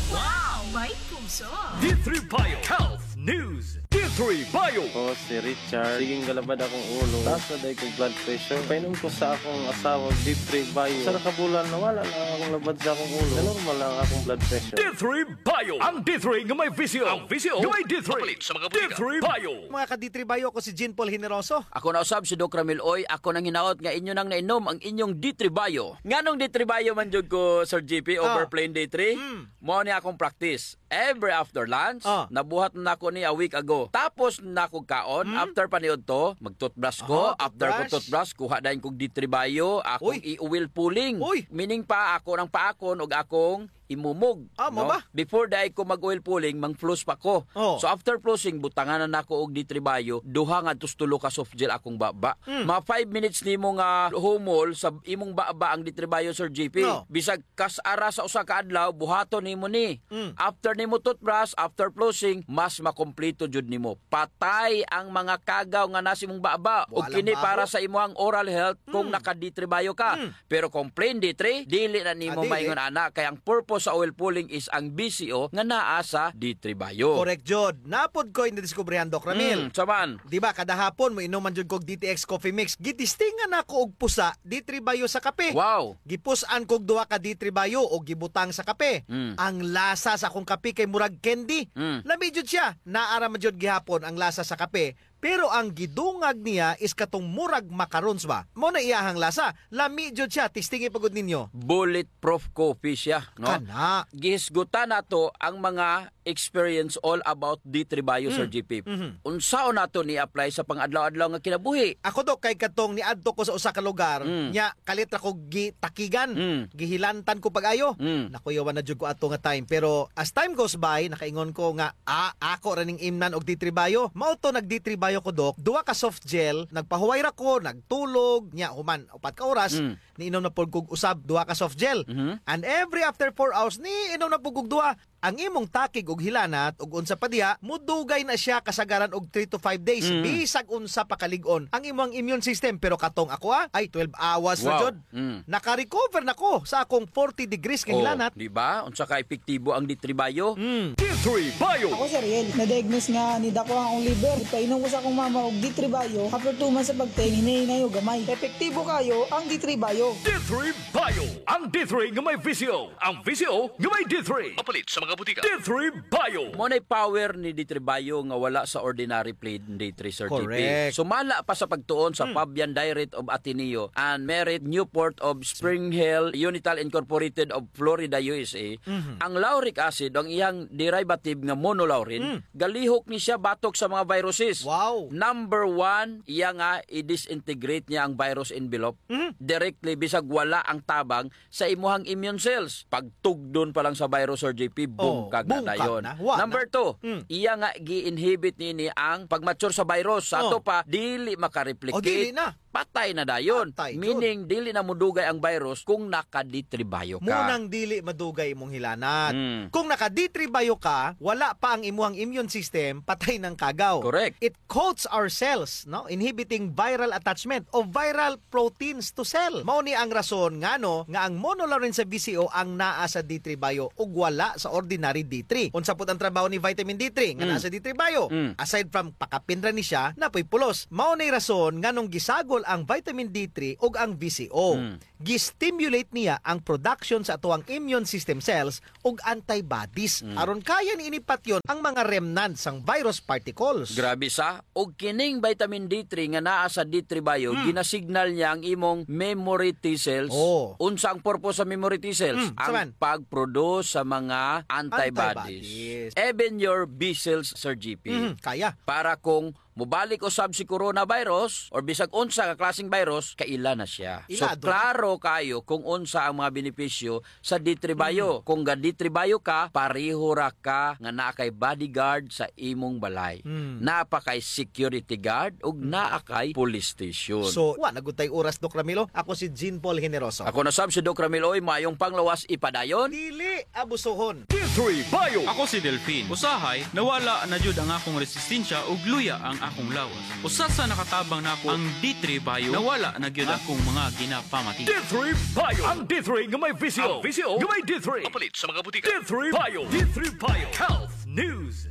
Wow! May puso! D three Bio Health News. D three Bio. Ako si Richard. Sige nga labad akong ulo. Taas na diay kog blood pressure. Painom ko sa akong asawa, D three Bio. Usa ra ka bulan, nawala na akong labad sa akong ulo. Na-normal na ang akong blood pressure. D three Bio. Ang D three nga may visyo. Ang visyo nga may D three. Mapalit sa mga botika. D three Bio. Mga ka-D three Bio, ako si Jean Paul Generoso. Ako na usab si Doc Ramil Uy. Ako nang hinaot nga inyo nang nainom ang inyong D three Bio. Nganong D three Bio man jud ko, Sir G P, over plain D three? Mm. Mao ni akong practice. Every after lunch, ah, nabuhat na nako ni a week ago. Tapos na nako kaon, hmm, after paniudto, mag-toothbrush ko. Aha, after ko toothbrush, kuha dayon kog D three Bio, akong i-oil pulling. Uy! Meaning pa, ako nang paakon og akong imumog, ah, mao ba? Before diay ko mag-oil pulling, mang-floss pa ko. Oh. So after flossing, butangan na nako og D three Bio, duha ngadto sa tulo ka soft gel akong baba. Hmm. Mga five minutes nimo nga humol sa imong baba ang D three Bio, Sir G P. No. Bisag kas ara sa usa ka adlaw, buhaton nimo ni. Mm. After nimo toothbrush, after flossing, mas makompleto jud nimo. Patay ang mga kagaw nga naa sa imong baba. Ug kini para sa imuhang oral health kung naka-D three Bio ka. Mm. Pero kung plain D three, dili na nimo maingon ana, kay ang purpose sa oil pulling is ang B C O nga naa sa D three Bio. Correct jud. Naa pod koy nadiskubrihan, Doc Ramil. Mm, unsa man? Di ba, kada hapon, moinom man jud kog D T X Coffee Mix. Gitistingan nako og pusa, D three Bio sa kape. Wow! Gipus-an kog duha ka D three Bio ug gibutang sa kape. Mm. Ang lasa sa akong kape kay murag candy. Mm. Lami jud siya. Naa ra man jud gihapon ang lasa sa kape, pero ang gidungag niya is katong murag macarons ba. Mao na iyahang lasa. Lami jud siya. Testingi pa gud ninyo. Bulletproof coffee siya, no? Kana. Gihisgutan nato ang mga experience all about D three Bio, Sir G P. Mm. Mhm. Unsaon nato ni-apply sa pang-adlaw-adlaw nga kinabuhi? Ako, Doc, kay katong niadto ko sa usa ka lugar, mm, nya kalit ra ko gitakigan, mm, gihilantan ko pag-ayo. Mm. Nakuyawan na jud ko ato nga time. Pero as time goes by, nakaingon ko nga, ah, ako ra ning imnan og D three Bio. Mao to, nag-D three Bio ko, Doc. Duha ka soft gel, nagpahuway ra ko, nagtulog, nya human upat ka oras, mm, niinom na pod kog usab duha ka soft gel. Mhm. And every after four hours, niinom na pod kog duha. Ang imong takig ug hilanat ug unsa pa diha, mudugay na siya kasagaran og three to five days, mm, bisag unsa pa kalig-on ang imong immune system. Pero katong ako, ah, ay twelve hours na jud. Wow. Mm. Naka-recover na ko sa akong forty degrees nga hilanat. Oh, di ba? Unsa ka epektibo ang D three Bio? Mm. D three Bio. Ako si Ariel. Na-diagnose nga nidako ang akong liver. Ipainom ko sa akong mama og D three Bio. After two months sa pag-take, hinay-hinay og gamay. Epektibo kaayo ang D three Bio. D three Bio. Ang D three nga may visyo. Ang visyo nga may D three. Mapalit sa mga butika. D three Bio. Mao nay power ni D three Bio nga wala sa ordinary plain D three, Sir G P. Correct. Sumala pa sa pagtuon sa, hmm, Fabian Direct of Ateneo and Merit Newport of Spring Hill Unital Incorporated of Florida, U S A, mhm, ang lauric acid, ang iyang derivative nga monolaurin, mm, galihok ni siya batok sa mga viruses. Wow. Number one, iya nga i-disintegrate niya ang virus envelope, mhm, directly, bisag wala ang tabang sa imuhang immune cells. Pagtugdon pa lang sa virus, Sir J P, boom, oh, ka na boom ka dayon. Na. Wa na. Number two, mm, iya nga gi-inhibit nini ang pag-mature sa virus. Sa, oh, ato pa, dili makareplicate. Oh, dili na. patay na dayon. Patay jud. Meaning, dili na modugay ang virus kung naka-D three Bio ka. Mao nang dili madugay imong hilanat. Mm. Kung naka-D three Bio ka, wala pa ang imuhang immune system, patay nang kagaw. Correct. It coats our cells, no, inhibiting viral attachment o viral proteins to cell. Mao ni ang rason ngano nga ang monolaurin sa V C O ang naa sa D three Bio ug wala sa ordinary D three. Unsa pud ang trabaho ni vitamin D three nga naa sa D three Bio? Mm. Aside from pakapin ra ni siya, naa poy pulos. Mao ni rason nganong gisagol ang vitamin D three ug ang V C O. Mm. Gi-stimulate niya ang production sa atoang immune system cells ug antibodies. Mm. Aron kaya ni ini patyon ang mga remnants sang virus particles. Grabe sa, ug kining vitamin D three nga naa sa D three Bio, mm, ginasignal niya ang imong memory T cells. Oh. Unsa ang purpose sa memory T cells? Mm, ang pag-produce sa mga antibodies. Antibodies. Even your B cells, Sir G P. Mm, kaya. Para kung mobalik usab si coronavirus or bisag unsa ka klaseng virus, kaila na siya. So, ilado na. Klaro kayo kung unsa ang mga benepisyo sa D three Bio. Mm. Kung ga-D three Bio ka, pareho ra ka nga naa kay bodyguard sa imong balay. Mm. Naa pa kay security guard ug naa kay police station. So, wa na gud tay oras, Doc Ramilo. Ako si Jean Paul Generoso. Ako na sab si Doc Ramil Oy, maayong panglawas ipadayon. Dili abusohon. D three Bio. Ako si Delfin. Usahay, nawala na jud ang akong resistensya ug luya ang akong lawas. Usa sa nakatabang nako ang D three Bio. Nawala na gyud akong mga ginapamati. D three Bio. Ang D three nga may V C O. Ang V C O nga may D three. Mapalit sa mga butika. D three Bio. D three Bio. Health News.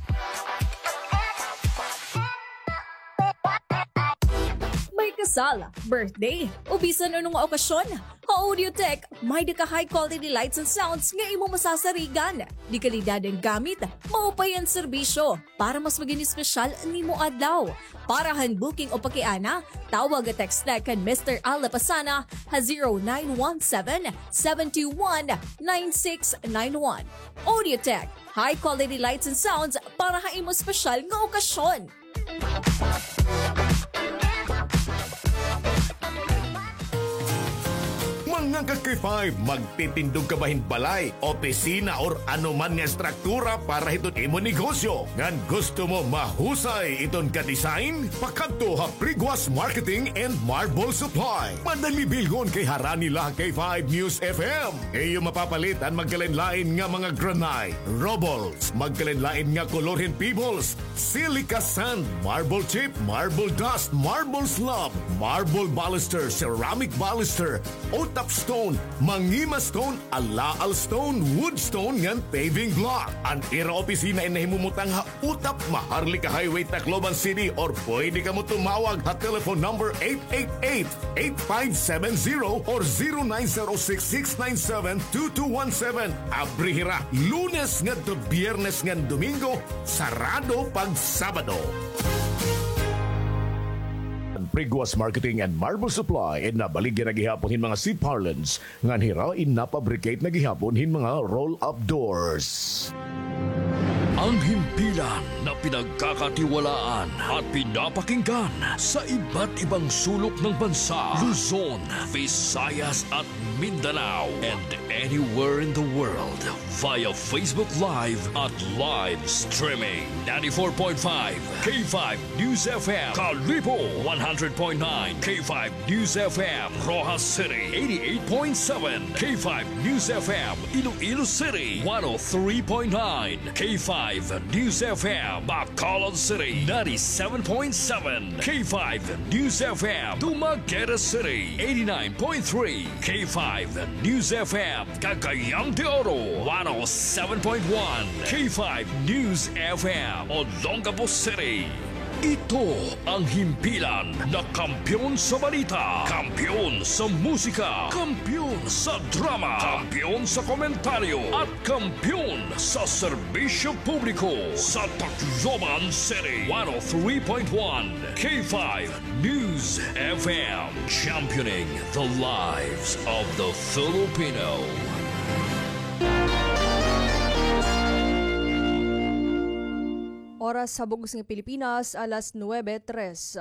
May kasal, birthday, o bisan ano nga okasyon, ha Audiotech, may-ada ka high quality lights and sounds nga imo masasarigan. De kalidad an gamit, maupay an serbisyo, para mas maging espesyal an imo adlaw. Para han booking o pakiana, tawag o text kan Mister Al Lapasana ha zero nine one seven, seven two one, nine six nine one. Audiotech, high quality lights and sounds para ha imo espesyal nga okasyon. Mga ka-K five, magtitindog ka ba hin balay, opisina, or ano man nga estruktura para hiton imo negosyo? Ngan gusto mo mahusay iton ka-design? Pakadto ha Priguas Marketing and Marble Supply. Madali bilhon kay harani la ha K five News F M. Iyo mapapalit an magkalain-lain nga mga granite, rubbles, magkalain-lain nga kolor hin pebbles, silica sand, marble chip, marble dust, marble slab, marble baluster, ceramic baluster, otap stone, mangima stone, alaal stone, wood stone, ngan paving block. An ira opisina in nahimumutang ha Utap, Maharlika Highway, Tacloban City, or pwede kamo tumawag ha telephone number eight eight eight, eight five seven zero or zero nine zero six, six nine seven, two two one seven. Abri hira Lunes ngadto Biyernes ngan Domingo, sarado pag Sabado. Priguas Marketing and Marble Supply, in nabaligya na gihapon hin mga seat parlance, ngan hira in napabricate na gihapon hin mga roll-up doors. Ang himpilan na pinagkakatiwalaan at pinapakinggan sa iba't ibang sulok ng bansa, Luzon, Visayas at Mindanao, and anywhere in the world via Facebook Live at live streaming. Ninety-four point five K five News F M, Kalibo, one hundred point nine K five News F M, Roxas City, eighty-eight point seven K five News F M, Iloilo City, one oh three point nine K five News F M, Bacolod City, ninety-seven point seven K five News F M, Dumaguete City, eighty-nine point three K five News F M, Cagayan de Oro, one oh seven point one K five News F M, Olongapo City. Ito ang himpilan na kampiyon sa balita, kampiyon sa musika, kampiyon sa drama, kampiyon sa komentaryo, at kampiyon sa serbisyo publiko sa Tacloban City. One oh three point one K five News F M, championing the lives of the Filipino. Oras sa Bugos ng Pilipinas, alas nuebe tres.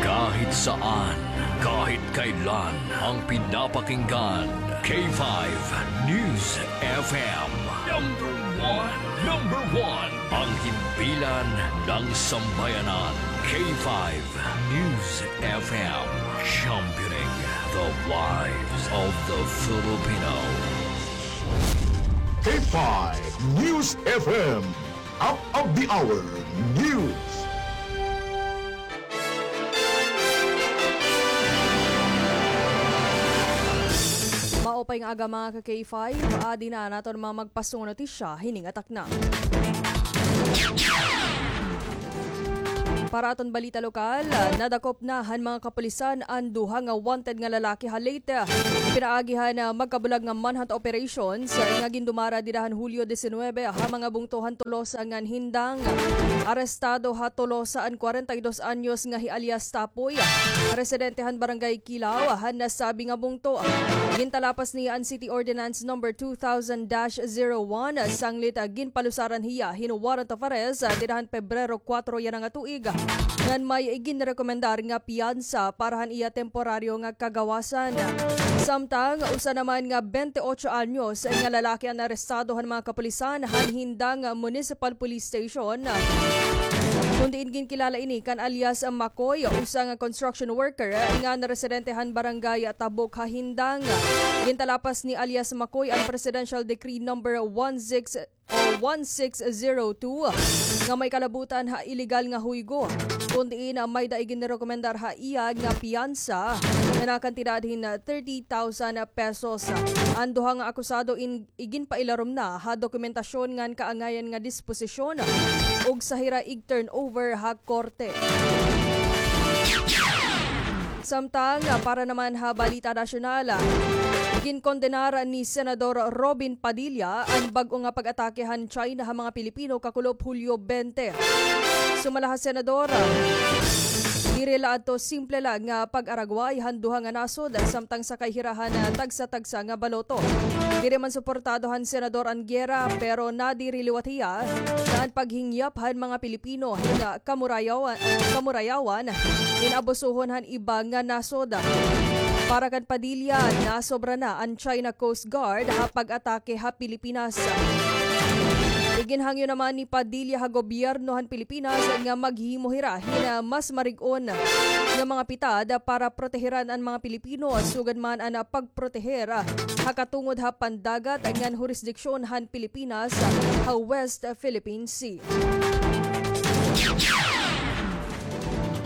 Kahit saan, kahit kailan, ang pinapakinggan, K five News F M. Number one, number one, ang himpilan ng sambayanan, K five News F M, championing the lives of the Filipino. K five News F M, up of the hour news. Maupay nga aga, mga ka K five, adi na an aton mga magpasungon nga notisya hining atakna. Para aton balita lokal, nadakop na han mga kapulisan an duha nga wanted nga lalaki ha Leyte. Pinaagi han, ah, magkabulag nga manhunt operations, ah, nga gindumara dida han Hulyo disinuybe ha mga bungto han Tolosa ngan Hindang. Arestado ha Tolosa an kwarenta y dos anyos nga hi alias Tapoy, residente han Barangay Kilaw han nasabi nga bungto. Gintalapas niya an City Ordinance Number two thousand dash zero one, sanglit, ah, ginpalusaran hiya hin warrant of arrest, ah, dida han Pebrero kuwatro yana nga tuig, ngan may iginrekomendar nga piyansa para han iya temporaryo nga kagawasan. Samtang usa naman nga bente otso anyos nga lalaki an arestado han mga kapulisan han Hindang Municipal Police Station, kun diin ginkilala ini kan alias Makoy, usa nga construction worker nga residente han Barangay Tabok ha Hindang. Gintalapas ni alias Makoy an Presidential Decree Number one six o one six zero two nga may kalabutan ha illegal nga huygo, kun diin may-ada iginrekomendar ha iya nga piyansa nga nakantidad hin thirty thousand pesos. An duha nga akusado in, iginpailarom na ha dokumentasyon ngan kaangayan nga disposisyon ug sa hira ig-turnover ha korte. Samtang, ah, para naman ha balita nasyonal, ah, ginkondenar ni Senador Robin Padilla an bag-o nga pag-atake han China ha mga Pilipino kakulop Hulyo bente. Sumala ha Senador, ah, diri la adto simple la nga pag-aragway han duha nga nasod, samtang sakay hira han, ah, tagsa-tagsa nga baloto. Diri man suportado han Senador an giyera, pero nadiri liwat hiya nga an paghingyap han mga Pilipino nga kamurayawan, kamurayawan, inabusuhon han iba nga nasod. Para kan Padilla, nasobra na an China Coast Guard ha pag-atake ha Pilipinas. Iginhangyo naman ni Padilla ha gobyerno han Pilipinas nga maghimo hira hin mas marig-on nga mga pitad para proteheran an mga Pilipino, sugad man an pagproteher ha katungod ha pandagat ngan hurisdiksyon han Pilipinas ha West Philippine Sea.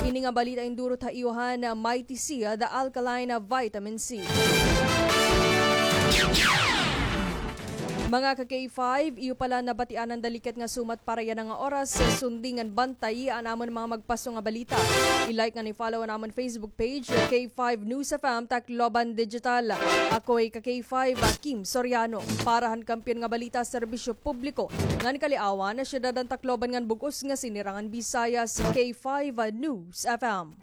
Ini nga balita indurot ha iyo han Mighty C, the alkaline vitamin C. Mga ka K five, iyo pala nabatian an dalikat nga sumat para yana nga oras. Sundi ngan bantayi an amon mga magpaso nga balita. I-like ngan i-follow an amon Facebook page, K five News F M Tacloban Digital. Ako hi ka K five, Kim Soriano, para han Kampiyon nga Balita, Serbisyo Publiko ngan Kaliawan, Syudad han Tacloban ngan bug-os nga Sinirangan Visayas, K five News F M.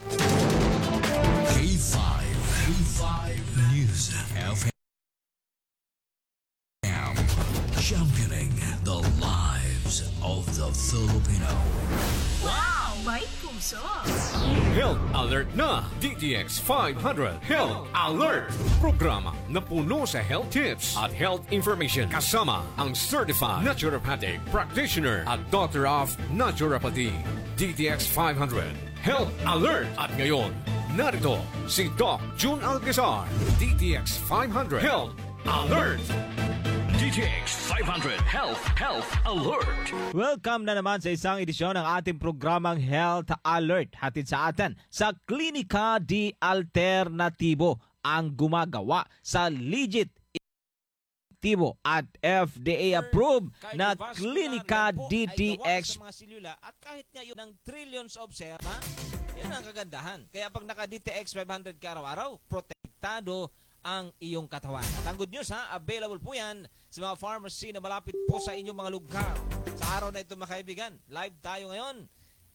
K five, K five News F M. Championing the lives of the Filipino. Wow! May puso! Health Alert na, D T X five hundred Health Alert. Programa na puno sa health tips at health information, kasama ang certified naturopathic practitioner at doctor of naturopathy. D T X five hundred Health Alert. At ngayon, narito si Doc Jun Alcazar, D T X five hundred Health Alert. D T X five hundred Health, Health Alert. Welcome na naman sa isang edisyon ng ating programang Health Alert, hatid sa atin sa Klinika de Alternatibo, ang gumagawa sa legit, epektibo at F D A approved na Klinika D T X. Sa mga selula at kahit ngayon ng trillions of cells, ha? Yan ang kagandahan. Kaya pag naka D T X five hundred ka araw-araw, protektado ang iyong katawan. At ang good news, ha, available po yan sa mga pharmacy na malapit po sa inyong mga lugar. Sa araw na ito, mga kaibigan, live tayo ngayon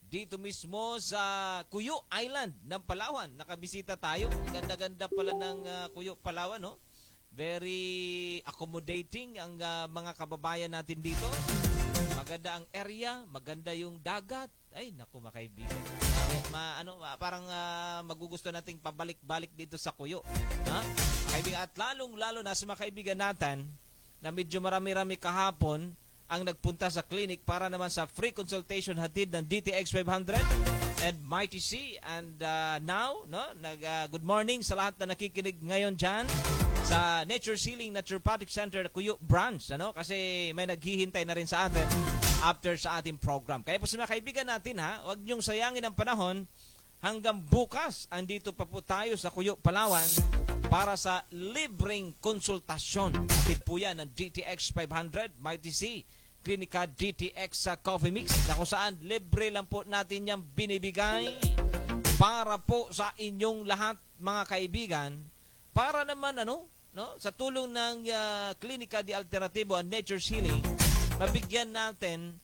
dito mismo sa Cuyo Island ng Palawan. Nakabisita tayo. Ganda-ganda pala ng, ah, Cuyo, Palawan, no? Very accommodating ang, ah, mga kababayan natin dito. Maganda ang area, maganda yung dagat. Ay, naku, mga kaibigan. Ma-, ano, ma-, parang, ah, magugusto nating pabalik-balik dito sa Cuyo. Ha? Kaibigan, at lalong-lalo na sa mga kaibigan natin na medyo marami-rami kahapon ang nagpunta sa clinic para naman sa free consultation hatid ng D T X five hundred and Mighty C. And, ah, now, no, nag, ah, good morning sa lahat na nakikinig ngayon dyan sa Nature's Healing Naturopathic Center Kuyo Branch, ano? Kasi may naghihintay na rin sa atin after sa ating program. Kaya po sa mga kaibigan natin, ha, huwag niyong sayangin ang panahon. Hanggang bukas, andito pa po tayo sa Kuyo, Palawan para sa libreng konsultasyon. Hatid po yan ng D T X five hundred, Mighty C, Klinika D T X sa Coffee Mix, na kung saan libre lang po natin yang binibigay para po sa inyong lahat, mga kaibigan, para naman, ano, no, sa tulong ng, ah, Klinika de Alternativo and Nature's Healing, mabigyan natin